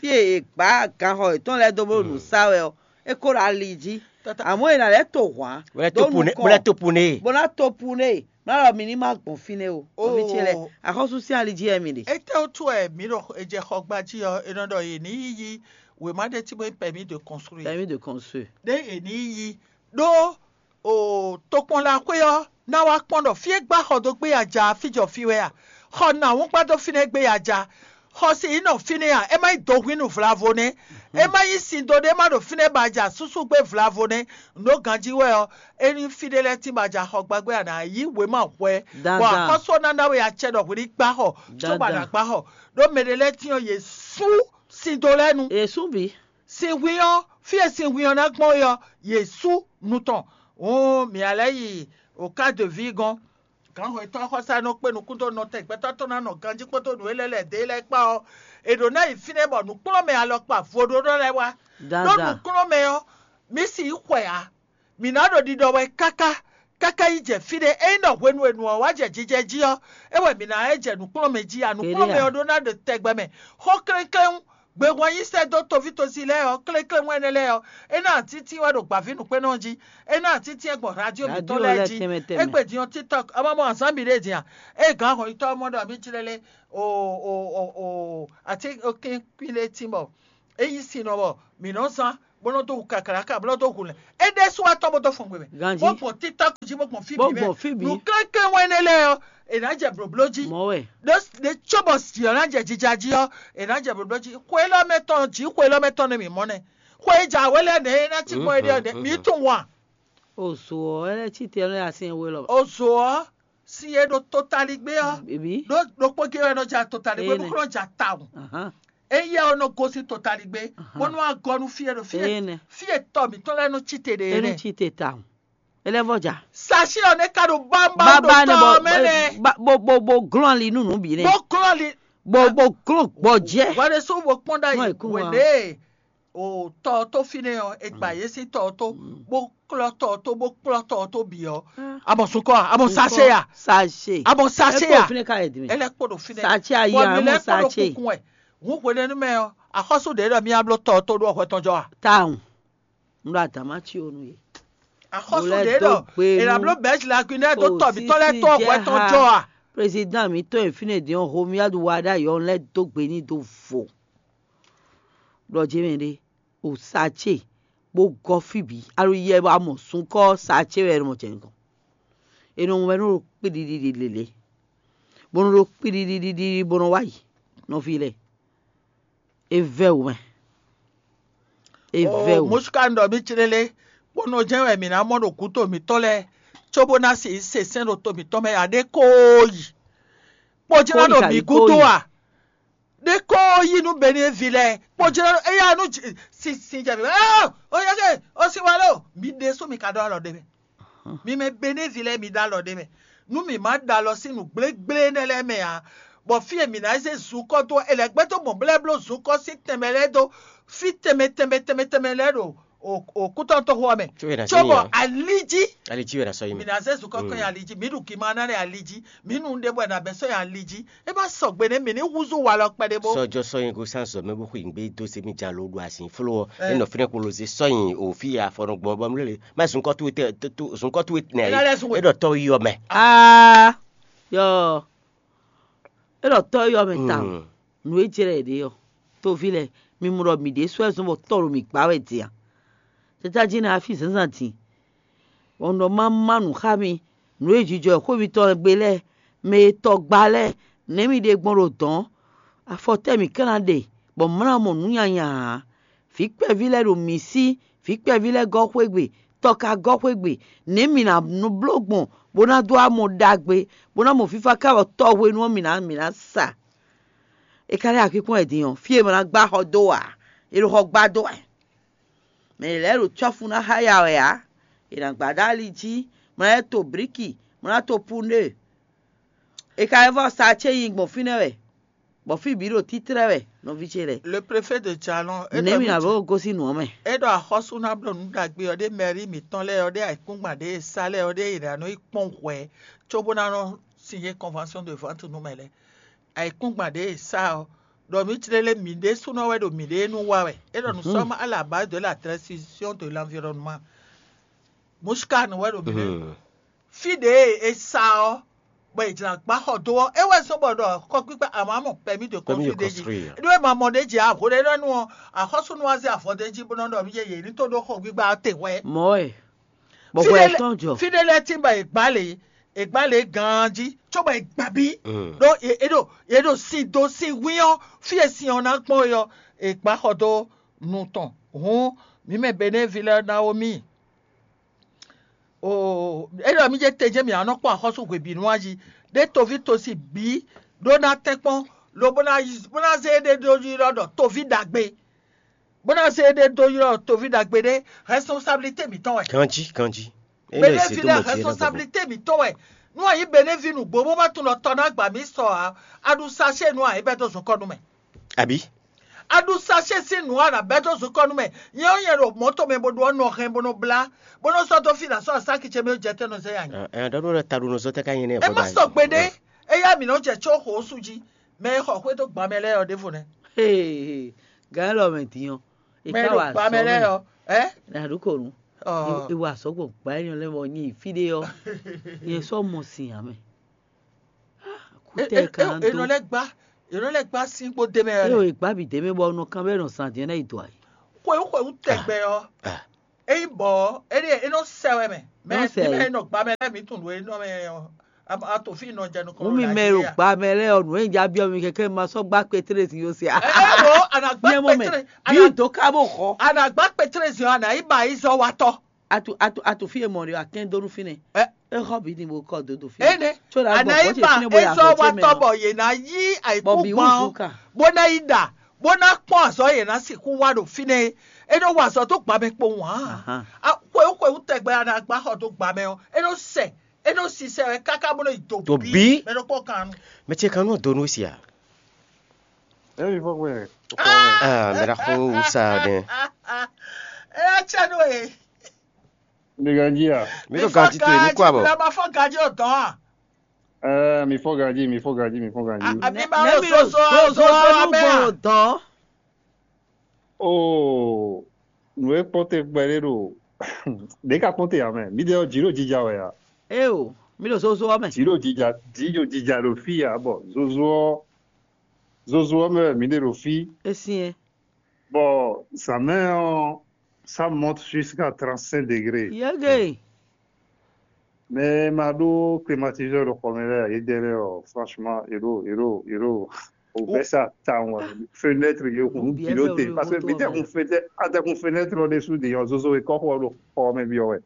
Fí e è gbǎ ganxɔ yětɔn lɛ́ɛ dó bó ɖo nǔ sá wɛ ɔ́, é kó ɖo ali jí. Amɔ̌ è nǎ lɛ́ to hwǎn dó nukɔn, bó lɛ́ to pu n'i, bó ná to pu n'i, bó ná ɖɔ mi ní má gbɔn fínɛ́ o. Nɔví ce lɛ́ɛ, axɔ́sú sín ali jí wɛ mi ɖe. Étɛ́ wútu wɛ mǐ ɖo è jɛ xɔ gba jí ɔ́, è nɔ ɖɔ yě ní yí wěma ɖé tí bó nyí permis de construire. Permis de construire. Ɖé yě ní yí ɖó o tokpɔnlaxwé ɔ́ ná wá kpɔ́n ɖɔ fí e gbá xɔ dó gbé ya ja fí jɔ fí wɛ a? Xɔ nǎ wún gbá dó fínɛ́ gbé ya ja? Xɔ si yě nɔ fínɛ́ a? É má nyí dohwínu vlavo nɛ́? É má nyí sin do ɖé má ɖo fínɛ́ ba ja súsú gbé vlavo nɛ́? Nǔ ɖó ganjí wɛ ɔ́, é nyí fí ɖé lɛ́ɛ tín ba ja xɔ gbá gbé a nǎ yí wěma hwɛ bɔ axɔ́sú ɔ́ ná ná we acɛ ɖɔ hwě ní gbá xɔ cóbɔ a nǎ gbá xɔ. Ɖó mɛ ɖé lɛ́ɛ tín ɔ́, yě sú sin do lɛ́ɛ nu. Yě sú bǐ. Sin hwín ɔ́, fí e sin hwín ɔ́ ná gbɔn é ɔ́, yě sú nu tɔn. Hǔn mǐ a lɛ́ yi o cas de vie gɔ́n. Gǎnhwɛtɔ́ xɔsá nɔ kpé nukún dó nɔ tɛgbɛtɔ́ tɔn ná nɔ ganjí kpódó nǔ e lɛ́ lɛ̌ dó e lɛ́ɛ kpá ɔ́, è ɖǒ ná yi fínɛ́ bɔ nǔkplɔ́nmɛ alɔkpa vodónɔ lɛ́ɛ wá. Ɖó nǔkplɔ́nmɛ ɔ́, mǐ si yí xwɛ ǎ. Mǐ ná ɖo ɖiɖɔ wɛ káká, káká yi jɛ fí ɖé. Ényí ɖɔ hwenu e nǔ ɔ́ wá jɛ jijɛ jí ɔ́, é wɛ mǐ ná lɛ́ jɛ nǔkplɔ́nmɛ jí a? Nǔkplɔ́nmɛ ɔ́ ɖó ná ɖo tɛgbɛ mɛ. Xó klɛ́nklɛ́n Gbehwan yí sɛ́ dó toví tosi lɛ́ɛ ɔ́, klékléwɛn énɛ́ lɛ́ɛ ɔ́, é ná atítín wɛ ɖo gbǎvínǔkpénɔ́ jí, é ná atítín wɛ gbɔn radio mǐtɔn lɛ́ɛ jí. Égbé din ɔ́, TikTok, é ma mɔ azǎn bǐ ɖé din a? É gǎn hɔnyitɔ́ ɔ́ mɔ ɖɔ mǐ jlɛ́ lé o o o o atínkínkín ɖé tín bɔ é nyí sin nɔ bɔ mǐ nɔ zán bó nɔ dó hu kaklaka bó nɔ dó hu lɛ̌n. É ɖésú wá tɔ́n bó dó fɔn gbe mɛ. Ganjí. Bó gbɔn TikTok jí bó gbɔn fí Bó bǐ mɛ. Gbɔn fí bǐ. Nǔ kɛ́nkɛ́n wɛn énɛ́ lɛ́ɛ ɔ́, è nǎ jɛ blǒbló jí. Mɔ̌ wɛ. Ɖó ɖé có bɔ jǐ ɔ́ ná jɛ jija jí ɔ́, è nǎ jɛ blǒbló jí. Xwe élɔ́ mɛ tɔn jǐ xwe élɔ́ mɛ tɔn nɛ mǐ mɔ nɛ́. Xwe e jǎwe lɛ́ɛ nɛ̌ é ná cí gbɔn é ɖe ɔ́ nɛ̌ mǐ tunwun a? O zo ɔ́, é lɛ́ cí te ɔ́, nɛ́ así we lɔ. O zo ɔ́, sin e ɖo totaligbé ɔ́, Bíbí. Ɖó ɖokpó gé wɛ nɔ ja totaligbé Énɛ́. Bó kó nɔ ja tawun. Ahán. Éyɛ́ ɔ́ nɔ gosín totaligbé, Ahán. Bó nɔ wá gɔ́ nú fí e ɖo fí e Énɛ́. Fí e tɔ mǐtɔn lɛ́ɛ nɔ cí te ɖe É nɔ énɛ́. Cí te tawun. É lɛ́ vɔ ja. Sachet ɔ́ nɛ́ ka ɖo bámbá Bábá ɖo nɛ tɔ bɔ ɔ́ mɛ nɛ́. Bó bó bó glɔ́n ali nú nǔ bǐ nɛ́. Bó glɔ́n ali Bó bó glɔ́n gbɔjɛ́. Hwɛɖésú bó kpɔ́n ɖ'ayǐ Kpɔ́n ayǐkúngban. Wěɖée o tɔ ɔ́ tó fínɛ́ ɔ́, è gba yě sín tɔ ɔ́ tó, bó klɔ́ tɔ ɔ́ tó, bó kplɔ́ tɔ ɔ́ tó bǐ ɔ́, a mɔ sun kɔ a? A mɔ sachet a? Sachet. A mɔ sachet Ɛ kpo a? Fínɛ́ ka yɛ din mɛ. Ɛ lɛ́ kpo ɖo fínɛ́. Sachet ayi Bɔ a mí mɔ lɛ́ kpo ɖo sachet. Kúnkún wɛ. Hǔn hwenu énɛ́ mɛ ɔ́, axɔ́sú ɖě ɖɔ mí á bló tɔ ɔ́ tó ɖó hwɛ tɔn jɔ a? Tawun. Un ɖo adǎn má cí ó nú yě. Axɔ́sú Mo lɛ́ ɖě dó ɖɔ gbe è nǎ nú bló bɛ̌si la Guinée ɖó tɔ mǐtɔn lɛ́ɛ tó hwɛ tɔn jɔ a? Président mǐtɔn e fínɛ́ din ɔ́, Romuald Wadagni ɔ́, lɛ́ dó gbe n'i dó vo. Ɖɔ jɛ́n mɛ ɖé, o sachet bó gɔ́ fí bǐ, alo yɛ bɔ a mɔ sunkɔ́ sachet wɛ è nɔ mɔ jɛ nukɔn. È nɔ mɔ wɛ nú ɖo kpíɖiɖiɖi lělé, bó nɔ ɖo kpíɖiɖiɖi bó nɔ wá yi nɔví lɛ́ɛ. É vɛ́ wǔ mɛ. É vɛ́ wǔ. Mɔ̌ ká un ɖɔ mì clélé, bó nɔ jɛ́n wɛ mǐ ná mɔ ɖo gǔdo mǐtɔn lɛ́ɛ, cóbó ná si se sɛ́n ɖo to mǐtɔn mɛ ǎ, ɖé kóó yi. Kpɔ́ jɛ́n ná ɖo mǐ gúdo a? Ɖé kóó yi nú Benín ví lɛ́ɛ, kpɔ́ jɛ́n ná ɖo éyá nú sin jɛ mǐ mɛ. Ó yɛ ké, ó sin wa lé o, mi ɖésú mi ka ɖó alɔ ɖé mɛ. Mi mɛ Benín ví lɛ́ɛ, mi ɖó alɔ ɖé mɛ. Nú mǐ má ɖó alɔ sín nǔ gblégblé énɛ́ lɛ́ɛ mɛ ǎ, bɔ fí e mǐ ná zé zunkɔ́ dó ɔ́, è lɛ̌ gbɛ́ dó mɔ̌ bó lɛ́ bló zunkɔ́ sín tɛnmɛ lɛ́ɛ dó fí tɛnmɛ tɛnmɛ tɛnmɛ tɛnmɛ lɛ́ɛ ɖo òkútɔ́ntɔ́xó ɔ́ mɛ. Cóbɔ ali jí, ali jí wɛ ná sɔ́ nyi mǐ mɛ. Ná zé zunkɔ́ kɔn nyi ali jí, mǐ ɖu gimanánɛ ali jí, mǐ nu ɖěbǔ wɛ ná bɛ́ sɔ́ nyi ali jí. É má sɔgbe nɛ́ mǐ ní húzú walɔ kpɛɖé bó. Sɔ́jɔ sɔ́ nyi gosín azɔ̌ mɛ bó xweyǐgbe dó zé mì jalo ɖo azǐn fló ɔ́, é nɔ fínɛ́ kpolo zé sɔ́ nyi òfí afɔnɔgbɔn bɔ mlélé. Má zunkɔ́ towe tɛ zunkɔ́ towe nɛ é ɖɔ tɔ́ yɔ mɛ. Aa yɔ é ɖɔ tɔ́ yɔ mɛ tawun. Nǔ e jlɛ́ yě ɖe ɔ́, toví lɛ́ɛ, mi mɔ ɖɔ mǐ ɖésú wɛ zɔ́n bɔ tɔ́ ɖo mǐ gbá wɛ din a? Tata jí ná fí zǎnzǎn din, bɔ un ɖɔ má má nǔ xá mi. Nǔ e jijɔ xwé mitɔn gbe lɛ́ɛ, mɛ e tɔ gba lɛ́ɛ, nɛ̌ mi ɖe gbɔn ɖo dɔ̌n? Afɔ tɛ́ mǐ ka ná ɖe, bɔ mǐ ná mɔ nǔ nyanya ǎ? Vǐ kpɛví lɛ́ɛ ɖo mǐ sí, vǐ kpɛví lɛ́ɛ gɔ́ xwé gbe, tɔ ka gɔ́ xwé gbe. Nɛ̌ mǐ ná nɔ bló gbɔn bó ná dó amɔ ɖagbe, bó ná mɔ fífá ká bɔ tɔhwenu ɔ́ mǐ ná mǐ ná sa? É ka lɛ́ akpíkpɔ́n wɛ din ɔ́, fí e mǐ ná gbá xɔ dó ǎ, è ɖo xɔ gbá dó wɛ. Mɛ lɛ́ɛ ɖo cɔ́fu ná xá ya wɛ ǎ, è nǎ gbá ɖó ali jí, mɔ ná to blíki, mɔ ná to púnɖe. È ka lɛ́ vɔ́ sa acé nyi gbɔn fínɛ́ wɛ, bɔ fí bǐ ɖo títlɛ́ wɛ, nɔví ce lɛ́ɛ. Le préfet de Djalon, é Nɛ̌ ɖɔ mǐ mì ná jí- vɔ́ gosín nǔ ɔ́ mɛ? É ɖɔ axɔ́sú ná bló nǔ ɖagbe ɔ́ ɖé mɛrí mǐtɔn lɛ́ɛ ɔ́ ɖé ayǐkúngban ɖé e sa lɛ́ɛ ɔ́ ɖé è nǎ nɔ yi kpɔ́n hwɛ̌ cóbó ná nɔ signé convention de vente nú mɛ lɛ́ɛ. Ayǐkúngban ɖě e sa ɔ́, ɖɔ mǐ clélé mǐ ɖésúnɔ wɛ ɖo mǐɖée nu wa wɛ. É ɖɔ nous sommes à la base de la destruction de l'environnement. Mushkan wɛ ɖo mǐɖée. Fí ɖě e è sa ɔ́, bɔ è jlǎ gbá xɔ dó ɔ́, é wɛ zɔ́n bɔ ɖɔ xɔgbígbá àmọ́ àmọ́ permis de Permis de construire ɖé jí. Construire. Ɖó é ma mɔ ɖé jí avo ɖé ɖɔ nú ɔ́, axɔ́súnú wá zé avɔ ɖé jí bó nɔ ɖɔ mí yeye ní tó ɖó xɔgbígbá ɔ́ te hwɛ. Mɔ̌ wɛ. Bɔ hwɛ tɔn jɔ. Fí ɖé lɛ́ɛ tín bɔ è gbá lě, è gbá lě ganjí, cóbɔ è gbá bí. Ɖó è ɖo è ɖo sin dó sin hwín ɔ́, fí e sin ɔ́ ná gbɔn é ɔ́, è gbá xɔ dó nu tɔn. Hǔn mǐ mɛ Benévi lɛ́ɛ ná wó mì. Oo, é ɖɔ mí jɛ te jɛ́n mǐ ná nɔ kpɔ́n axɔ́sú hwebǐnu ɔ́ jí, ɖé toví tosi bǐ ɖó ná tɛ́nkpɔ́n, lobo ná bó ná zé éɖée ɖó ylɔ́ ɖɔ toví ɖagbe. Bó ná zé éɖée dó ylɔ́ toví ɖagbe ɖé, responsabilité mǐtɔn wɛ. Ganjí, ganjí. Benévi lɛ́ɛ responsabilité mǐtɔn wɛ. Nú a nyǐ Benévi nǔgbó bó má tunwun ɖɔ tɔ ná gba mǐ sɔ ǎ, a ɖu sachet nú a nyǐ bɛ́ dó zunkɔ́ nú mɛ. Abǐ? A ɖu sachet sín nǔ a nǎ bɛ́ dó zunkɔ́ nú mɛ. Nyɛ ɔ́, nyɛ ɖo mɔ̌ tɔn mɛ bó ɖó ɔ́ nɔ hɛn bó nɔ blá, bó nɔ sɔ́ dó fí ná sɔ́ asáki ce mɛ jɛ tɛ́ nɔ zɛ ya nyǐ. Ɛ ɛ ɖɔ ɖɔ taɖunɔzɔ́ tɛ ka nyɛ nɛ́. Ɛ má sɔgbe ɖé, éyá mǐ nɔ jɛ có xo sú jí, mɛ e xɔ xwé dó gban mɛ lɛ́ɛ ɔ́ ɖěvo nɛ́. Ee, Gǎn élɔ́ mɛ din ɔ́, è Mɛ ká ɖo wa gbá mɛ azɔ̌ lɛ́ɛ mɛ. Ɔ́, ɛ? Nǎ ɖó kò nú. Ɔ, È wa azɔ̌ gbɔn gbá énɛ́ lɛ́ɛ mɛ ɔ́, nyi fí ɖé ɔ́, nyɛ sɔ́ mɔ sin ǎ mɛ. Kútɛ kan Enɔ dó. Lɛ́ gbá, enɔ lɛ́ gbá sín kpó dé mɛ Eye ɔ́. o, è gbá bǐ dé mɛ bɔ nɔ kan bɛ nɔ zan din ɔ́ ná yi dɔ ayǐ. Xwewú xwewú tɛgbɛ ɔ́, ényí bɔ éɖée é nɔ sɛ wɛ mɛ. Mɛ Nɔ sɛ ní mɛ wɛ. É nɔ gbá mɛ lɛ́ɛ mǐ tunwun nǔ e nɔ mɛ ɔ́, a to fí nɔ jɛ nukɔn. Wú mi mɛ ɖo gbá mɛ lɛ́ɛ ɔ́, nǔ e un já byɔ́ mi kɛkɛ ma sɔ́ gbá kpetlé sin yó se a. Ɛ ɛ wo, anagba Nyɛ mɔ mɛ, kpetre, bí dó ká bó xɔ. Anagba kpetre zin ɔ́, anayi ba yi zɔ wa tɔ. Atu atu atu fi e mɔ ɖe akɛn dó nú fínɛ́. Ɛ. E xɔ bi ni bo kɔ dó do fi. Ene, Tso la gbɔ anayi bɔ tse ba fínɛ́ bo yi ezɔ axɔ wa tse mɛ tɔ ɔ́. Bɔ yě ná yí Bɔ ayikú bi wú gbɔn zu ɔ́, kan. Bó ná yí ɖa, bó ná kpɔn azɔ yě ná sixú wá ɖo fínɛ́. É nɔ wa azɔ tó gbá mɛ kpowun hã. Ahan. Xwewú xwewú tɛgbɛ anagba xɔ dó gbá mɛ ɔ́, é nɔ sɛ, é nɔ sisɛ wɛ káká bó nɔ yi do Do bí. bí. Mɛ nɔ kpɔ́n kan nu. Mɛ ce kan nɔ do nú si a? Emi fɔ gbɛ. Ah, mɛ ɖaxó wu sa ɖe. Ɛ yá tsɛ nú e. Mi ganji a? Mi ɖo ganji to mi kó abɔ. Ɛ ma fɔ ganji o dɔn a. Ɛ mi fɔ ganji, mi fɔ ganji, mi fɔ ganji. Àbí máa lọ sóso azɔ abẹ́ à. Dɔn. Oo, nǔ e kpɔ́n te gbɛɖé ɖo ɖě ka kpɔ́n te ǎ mɛ. Mǐdɛɛ ɔ́, jǐ ɖo jija wɛ a? Eo, mi ɖo zozo ɔ́ mɛ. Jǐ ɖo jija, jǐ ɖo jija ɖo fí ǎ, bɔ zozo ɔ́, zozo ɔ́ mɛ wɛ mǐ ɖe ɖo fí. E syɛ́n. Bɔ zǎnmɛ ɔ́, ça monte jusqu'à trente-cinq degrés. Yɛ́gɛ. Mɛ e ma ɖó climatiseur ɖo xɔ mɛ lɛ́ɛ, yě dɛn lɛ́ɛ ɔ́, franchement, yě ɖo, yě ɖo, yě ɖo, o bɛ́ sa tawun wɛ. Fenêtre yě hun Obiɛ bǐ ɖo sɛ te, wɛ parce que moto mi tɛ mɛ. Hun fenêtre, a tɛ hun fenêtre ɔ́ ɖésú de ɔ́, zozo e kɔ́ xɔ ɖo xɔ mɛ byɔ́ wɛ.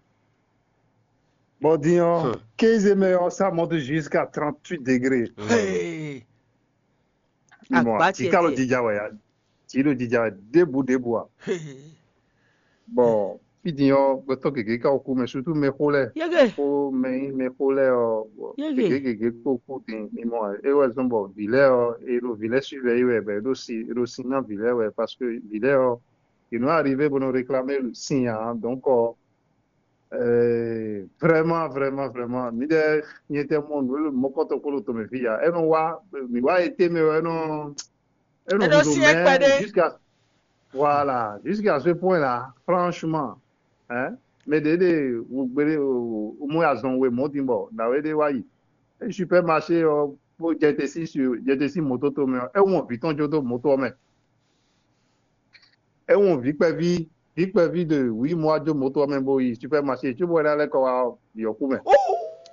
Bɔ din ɔ́, Hmm. Quinze mɛ ɔ́, ça monte jusqu'à trente-huit degrés. Hey. Mi mɔ, Akpa jǐ ka ɖo tiɛtiɛ. jija wɛ ya, jǐ ɖo jija wɛ ɖěbǔ ɖěbǔ a. Hey. Bɔ fí din ɔ́, gbɛtɔ́ gěgé ka kú mɛ, surtout mɛxó lɛ́ɛ. Yɛ́gɛ. Kó mɛ nyí mɛxó lɛ́ɛ ɔ́, bɔ Yɛ́gɛ. gěgé gěgé kpó kú din, mi mɔ, é wɛ zɔ́n bɔ vǐ lɛ́ɛ ɔ́, è ɖo vǐ lɛ́ɛ suivre yí wɛ, bɔ è ɖo si, è ɖo sin ná vǐ lɛ́ɛ wɛ, parce que vǐ lɛ́ɛ ɔ́, yě nɔ arrivé bó nɔ réclamer sin ǎ, donc ɔ́, euh, vraiment, vraiment, vraiment, mi ɖe nyɛ tɛ mɔ nǔ e mɔkɔtɔ kpó ɖo tɔmɛ fí ya, é nɔ wá, mi wá été mɛ ɔ́, é nɔ, é nɔ É nɔ húzú syɛ́n mɛ kpɛɖé. Jusqu'à, voilà, jusqu'à ce point là, franchement, hein, mais des, des, vous, vous, vous, vous, vous, azɔn we mɔ din bɔ, na we de wa yi. Et supermarché, euh, pour jete si, sur, jete si moto to mɛ, é wɔn vǐ tɔn jó dó moto mɛ. É wɔn vǐ kpɛví, vǐ kpɛví de huit mois jó moto mɛ bo yi supermarché, tu vois là, là, quoi, yɔku mɛ.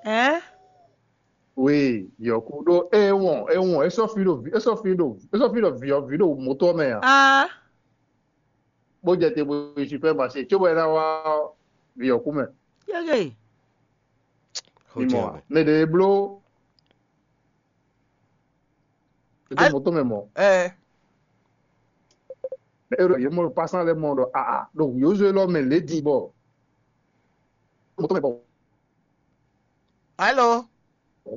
Ɛ. Oui, yɔku ɖó é wɔn, é wɔn, é sɔ́ fi ɖo, é sɔ́ fi ɖo, é sɔ́ fi ɖo vǐ, vǐ ɖo moto mɛ a. Ah. Bó jɛ te bó yi supermarché, tso bɔ é ná wá vǐ ɔ́ kú mɛ. Yɛ́gɛ. Mi mɔ a? Mɛ ɖě bló é dó moto mɛ mɔ. Ɛ. É ɖo yě mɔ ɖo pasán lɛ́ɛ mɔ ɖɔ aa ɖo yǒzo élɔ́ mɛ lě din bɔ moto mɛ bɔ Alo.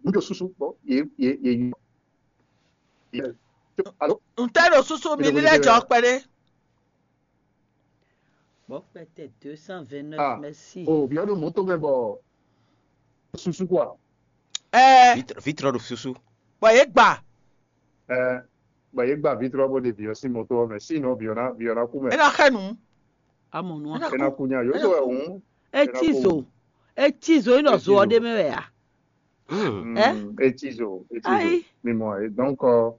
N ɖo susu bɔ yě yě yě yí. Alo. N tɛ ɖo susu mi ní lɛ jɔ kpɛɖé. Bɔ kpɛtɛ deux cent vingt neuf, Ah. Merci. O bia ɖo moto mɛ bɔ susu quoi. Ɛ. Vitrɔ ɖo susu. Bɔ yě gba. Ɛ bɔ yě gba vitrɔ bó de viɔ sín moto mɛ sínɔ viɔ ná viɔ ná kú mɛ. É ná xɛ nǔ. Amɔ nua. É ná kú nya yóò tó ɛ hùn. Eti zo. Eti zo yi nɔ zo ɔ ɖe mɛ wɛ a. Hmm. Ɛ? Eti zo eti zo Ayi. Mi mɔ ɛ donc ɔ,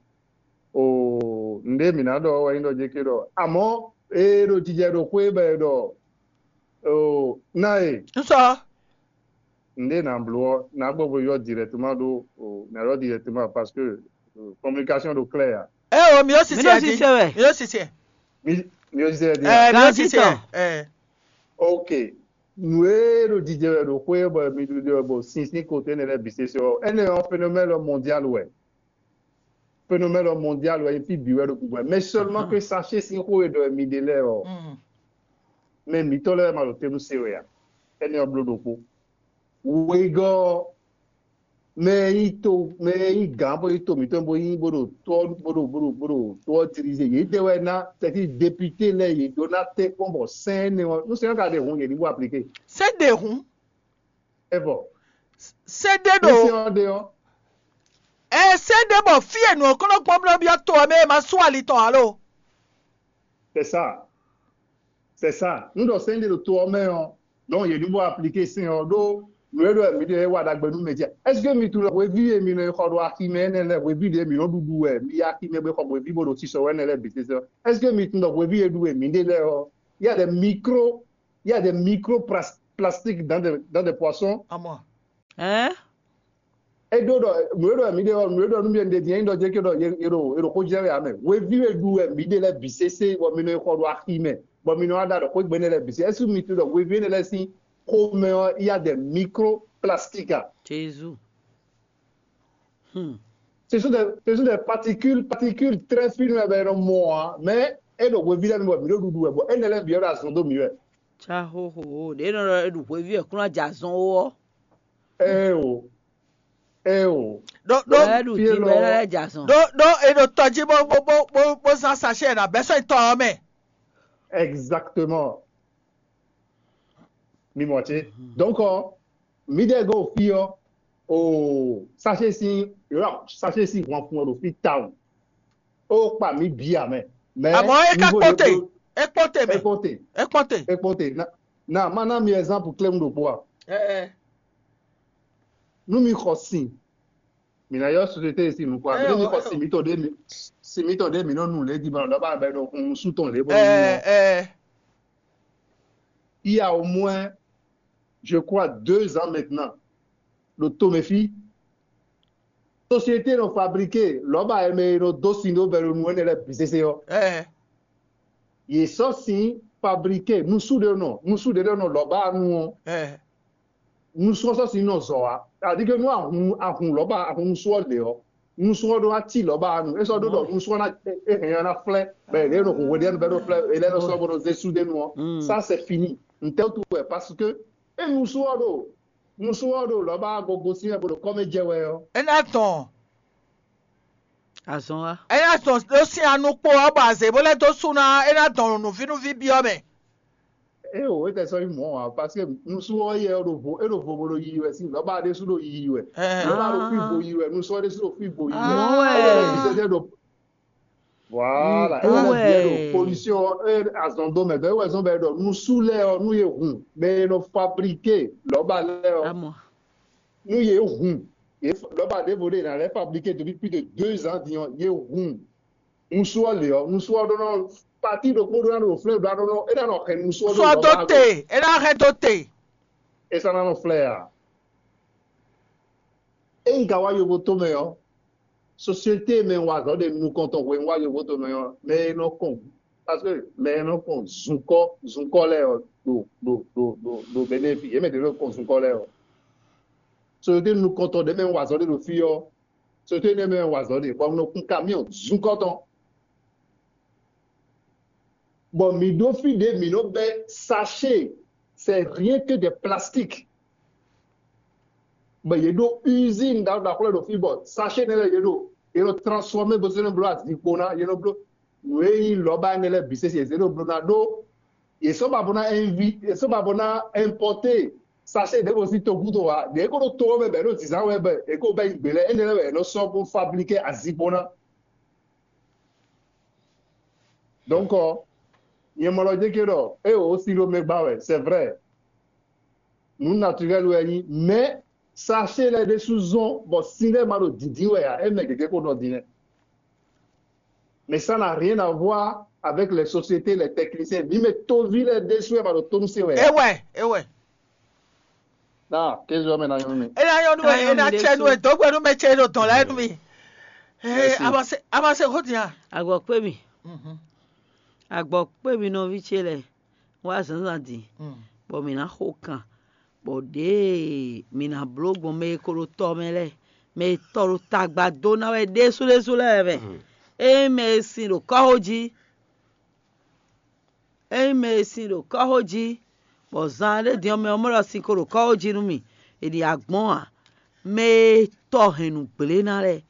o nɖe mi ná ɖɔ wɛ nyí ɖɔ jeke ɖɔ àmọ́ e ɖo jijɛ ɖo xwé bɛ ɖɔ o ná e N sɔ. nɖe nà bló ɔ nà gbɔ bo yɔ directement ɖo o nà yɔ directement parce que euh, communication ɖo clair ya. Ɛ o mi yóò Mi sisi ɖo ɛ di. sise wɛ. Mi yóò sisi ɛ. Mi mi yɔ sisɛ di. Ɛ mi yóò Ganji sisi tɔ. Ɛ. Ɛ. Ok. Nu e ɖo jijɛ wɛ ɖo xwé bɔ mi ɖuɖu wɛ bɔ sinsin kote ne lɛ bi sese ɔ, ene ɔ phénomène mondial wɛ. Phénomène mondial wɛ fi bi wɛ ɖo gugbe. Mais seulement que sachet sin xó e ɖɔ mi ɖe lɛ ɔ, Mm. mais mitɔ lɛ ma ɖo tenu se wɛ a. Ene ɔ blo ɖokpo. Wegɔ mɛ yi to mɛ yi gǎn bó yi to mǐtɔn bó yi bó ɖo tɔ bó ɖo bó ɖo bó ɖo tɔ diriger yě de wɛ ná c'est-à-dire député lɛ yě ɖó ná tɛ kpɔn bɔ sɛn ne ɔ nu sɛn ka ɖe hun yě ní bó appliquer. Sɛ ɖe hun. Evɔ Sɛ ɖe nu ɖo. sɛn ɔ ɖe ɔ Ɛ sɛ ɖe bɔ fí e nǔ ɔkɔnɔ gbɔn blɔ byɔ to ɔ mɛ e ma sú ali tɔn alo. C'est ça. C'est ça. Nous ɖɔ sɛn ɖe ɖo to ɔ́ mɛ ɔ́, donc yě ní bó appliqué sɛn ɔ́ ɖó nǔ e ɖɔ mǐ ɖe wa ɖagbe nú mɛ jí. Est-ce que mi tunɔ hweví e mi nɔ yi xɔ ɖo aximɛ énɛ́ lɛ́ɛ, hweví ɖě mi nɔ ɖuɖu wɛ, mi yi aximɛ bó xɔ hweví bó ɖo sisɔ wɛ énɛ́ lɛ́ɛ bǐ sésé? Est-ce que mi tunɔ hweví e ɖu wɛ mǐ ɖe lɛ́ɛ ɔ́, il y a des micro, il y a des micro plas- plastiques dans des, dans des poissons? Amɔ. Hein? E ɖó ɖɔ nǔ e ɖɔ mǐ ɖe ɔ́, nǔ e ɖɔ nú mi ɖe din é nyí ɖɔ jɛ ke ɖɔ yě ɖo yě ɖo xó jɛ wɛ ame. Hweví e ɖu wɛ mǐ ɖe lɛ́ɛ bǐ sésé bɔ mi nɔ yi xɔ ɖo aximɛ bɔ mi nɔ wá ɖa ɖɔ xwé gbe énɛ́ lɛ́ɛ bǐ sésé. Est-ce que mi tunɔ ɖɔ hweví énɛ́ lɛ́ɛ sín xomɛ ɔ́, il y a des microplastiques? Jésus. Hmm. Ce sont des, ce sont des particules, particules très fines, mais, mais, mais e ɖo hweví lɛ́ɛ mi bɔ mǐ ɖo ɖuɖu wɛ bɔ énɛ́ lɛ́ɛ bǐ ɔ́ ɖo azɔn dó mǐ wɛ. Tsa xóxó ɖě nɔ ɖɔ e ɖu hweví wɛ kún ná jɛ azɔn ó ɔ́. Eo, eo. Ɖó ɖó Bɔ e ɖu fí dín élɔ́ bɔ é ná jɛ azɔn. ɖó ɖó e ɖo tɔjí bó bó bó bó bó zán sachet ɛ ná bɛ́ sɔ́ tɔ ɔ́ mɛ. Exactement. Mi mɔ ce. Donc, ɔ, mi ɖe go fi ɔ, o sachet si, yɔrɔ sachet si hwan fun ɔ ɖo fi tawun. O kpa mi bi amɛ. Mais Àmọ́ é ká niveau kpɔ́te, ɖokpó- é kpɔ́te mɛ, é kpɔ́te, é kpɔ́te. é kpɔ́te. Na, na ma na mi exemple clair ɖokpó a. Ɛ ɛ. Nú mi xɔ sin, mi ná yɔ société si nukɔ a. Eh, Nú mi oh, xɔ eh, sin mi tɔn ɖe mi, sin mi tɔn ɖe mi nɔ nu lé di ma lɔ ba bɛ ɖo hun su tɔn lé bɔ Ɛ ɛ. Il y a au moins, je crois, deux ans maintenant, le Tomefi, société nɔ fabriqué lɔba eme nɔ dó sin ɖó bɛ ɖo nu énɛ́ lɛ́ɛ bǐ sésé ɔ́. Ɛ Yě sɔ́ sin fabriqué nusu ɖé nɔ nusu ɖé nɔ lɔba nu ɔ́. ɛ. Nusu ɔ́ sɔ́ sin nɔ zɔ wá. Aɖíke nú ahun ahun lɔba ahun nusu ɔ́ lě ɔ́, nusu ɔ́ ɖó ná cí lɔba nu. É sɔ́ ɖó ɖɔ nusu ɔ́ ná é hɛn ɔ́ ná flɛ́ bɛ lě nɔ hǔn hweɖénu bɛ ɖo flɛ́ é lɛ́ nɔ sɔ́ bó nɔ zé sú ɖé nu ɔ́. Mm. Ça c'est fini. Ntɛ́wútu wɛ parce que é nusu ɔ́ ɖo nusu ɔ́ ɖo lɔba gogo sín wɛ bó ɖo kɔ́mɛ jɛ wɛ ɔ́. É ná tɔn. Azɔn wa. É ná tɔn ɖó sín anukpo ɔ́ bɔ azě bó lɛ́ dó sú ná é ná dɔn nǔvínúví byɔ́ mɛ. É o é tɛ sɔ́ nyí mɔ̌ ǎ parce que nusu ɔ́ yɛ ɔ́ ɖo vo é ɖo vo bó ɖo yiyi wɛ sín lɔba ɖésú ɖo yiyi wɛ. Ɛ. Lɔba ɖo fí vo yiyi wɛ nusu ɔ́ ɖésú ɖo fí vo yiyi wɛ. Mɔ̌ wɛ. É ɖo bísɛ jɛ ɖo voilà Mm, é ɖo mɔ̌ bísɛ wɛ. ɖo pollution ɔ́ é azɔn dó mɛ dɔ é wɛ zɔn bɛ ɖɔ nusu lɛ ɔ́ nú yé hun bɛ é nɔ fabriqué lɔba lɛ ɔ́ Amɔ. nú yé hun yé lɔba ɖěvo ɖé ná lɛ fabriqué depuis plus de deux ans din ɔ́ yé hun nusu ɔ́ lě ɔ́ nusu ɔ́ ɖó nɔ pati ɖokpó ɖó ná ɖo flɛ́ ɖó ná ɖó nɔ é ná nɔ hɛn nusu ɔ́ Sɔ dó te, é ná hɛn dó te. É sɔ́ ná nɔ flɛ́ ǎ. É un ka wá yovo tomɛ ɔ́, société mɛ wa azɔ̌ ɖe nukɔn tɔn hwenu wá yovo tomɛ ɔ́, mɛ e nɔ kɔn parce que mɛ e nɔ kɔn zunkɔ zunkɔ lɛ́ɛ ɔ́ ɖo ɖo ɖo ɖo ɖo Benin fí, yě mɛ ɖě nɔ kɔn zunkɔ lɛ́ɛ ɔ́. Société nukɔn tɔn ɖě mɛ wa azɔ̌ ɖe ɖo fí ɔ́, société nɛ́ mɛ wa azɔ̌ ɖe bɔ un nɔ kún camion zunkɔ tɔn. Bɔ mǐ ɖó fí ɖě mǐ nɔ bɛ́ sachet, c'est rien que des plastiques. Bɔ yě ɖó usine ɖaxó ɖaxó lɛ́ɛ ɖo fí bɔ sachet nɛ́ lɛ́ɛ yě ɖo yě nɔ transformer bó zé nɔ bló azikpo ná, yě nɔ bló nǔ e nyí lɔba énɛ́ lɛ́ɛ bǐ sésé yě zé ɖo bló ná ɖó yě sɔ́ ba bó ná invi yě sɔ́ ba bó ná importer sachet ɖěvo sín togúdo ǎ. Ɖě ko ɖo to ɔ́ mɛ bɔ yě ɖo zǐnzán wɛ bɔ yě ko bɛ́ nyi gbě lɛ́ɛ énɛ́ lɛ́ɛ wɛ yě nɔ sɔ́ bó fabriquer azikpo ná. Donc, ɔ, nyɛ mɔ lɔ jɛ ke ɖɔ e o si ɖo mɛ gba wɛ, c'est vrai. Nu naturel wɛ nyi, mais sachet lɛ ɖésú zɔn bɔ sin lɛ ma ɖo dǐndín wɛ ǎ, e mɛ gěgé ko nɔ din lɛ. Mais ça n'a rien à voir avec les sociétés, les techniciens. Mi mɛ tovi lɛ ɖésú wɛ ma ɖo tónú se wɛ. Ewɛ, ewɛ. Na kézɔ mɛ na nyɔnu mi. É ná nyɔ́ nú ẹ, é ná tsɛ nú ẹ, dǒgbɛ́ nú mɛ tsɛ ɖo dɔn lɛ́ɛ nú mi. Ee, Merci. Amase, Amase xó din a. Agbɔkpé mi, Mhm. agbɔkpé mi nɔví ce lɛ wá zǎnzǎn din, Mm. bɔ mǐ ná xo kan, bɔ ɖěe mǐ ná bló gbɔn mɛ e ko ɖo tɔ mɛ lɛ́ɛ, mɛ e tɔ ɖo tagba dó ná wɛ ɖésú ɖésú lɛ́ɛ mɛ. Ényí mɛ e sin ɖo kɔ́xo jí, ényí mɛ e sin ɖo kɔ́xo jí, bɔ zan ɖé din ɔ́ mɛ ɔ́ mɔ ɖɔ sin ko ɖo kɔ́xo jí nú mì, è ɖi agbɔ́n ǎ. Mɛ e tɔ hɛn nǔgblé ná lɛ́ɛ,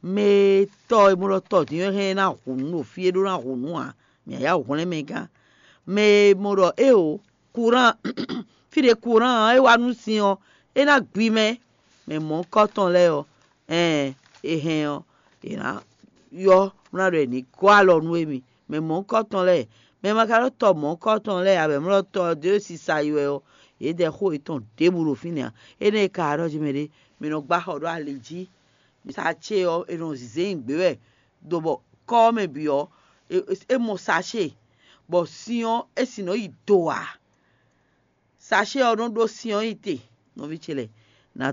mɛ e tɔ e mɔ ɖɔ tɔ din ɔ́ hɛn ná hu nǔ ɖo fí e ɖó ná hu nǔ ǎ, mǐ yá hwlɛ́n mɛ gán. Mɛ e mɔ ɖɔ éeǒ, kuran fí ɖě kuran ɔ́ é wá nú sin ɔ́, é ná gbi mɛ. Mɛ mɔ̌hunkɔtɔn lɛ́ɛ ɔ́, ɛɛn è hɛn ɔ́, è nǎ ylɔ́ bó ná ɖɔ è ní gɔ́ alɔ nú émí. Mɛ mɔ̌hunkɔtɔn lɛ́ɛ, Mɛ e ma ka ɖó tɔ mɔ̌kɔ́ tɔn lɛ́ɛ ǎ, bɔ è mlɔ́ tɔ ɔ́ dó sisa yi wɛ ɔ́, yě dɛ xó yětɔn ɖěbǔ ɖo fínɛ́ ǎ. Énɛ́ e ka ɖɔ jí mɛ ɖé, mɛ nɔ gbá xɔ ɖó ali jí. Sace ɔ́, è nɔ zǐzé nyi gbě wɛ, ɖo bɔ kɔ́ ɔ́ mɛ bǐ ɔ́, é mɔ sace, bɔ sin ɔ́, é sin nɔ yi do ǎ. Sace ɔ́ nɔ ɖó sin ɔ́ nyi te, nɔví ce lɛ́ɛ, nǎ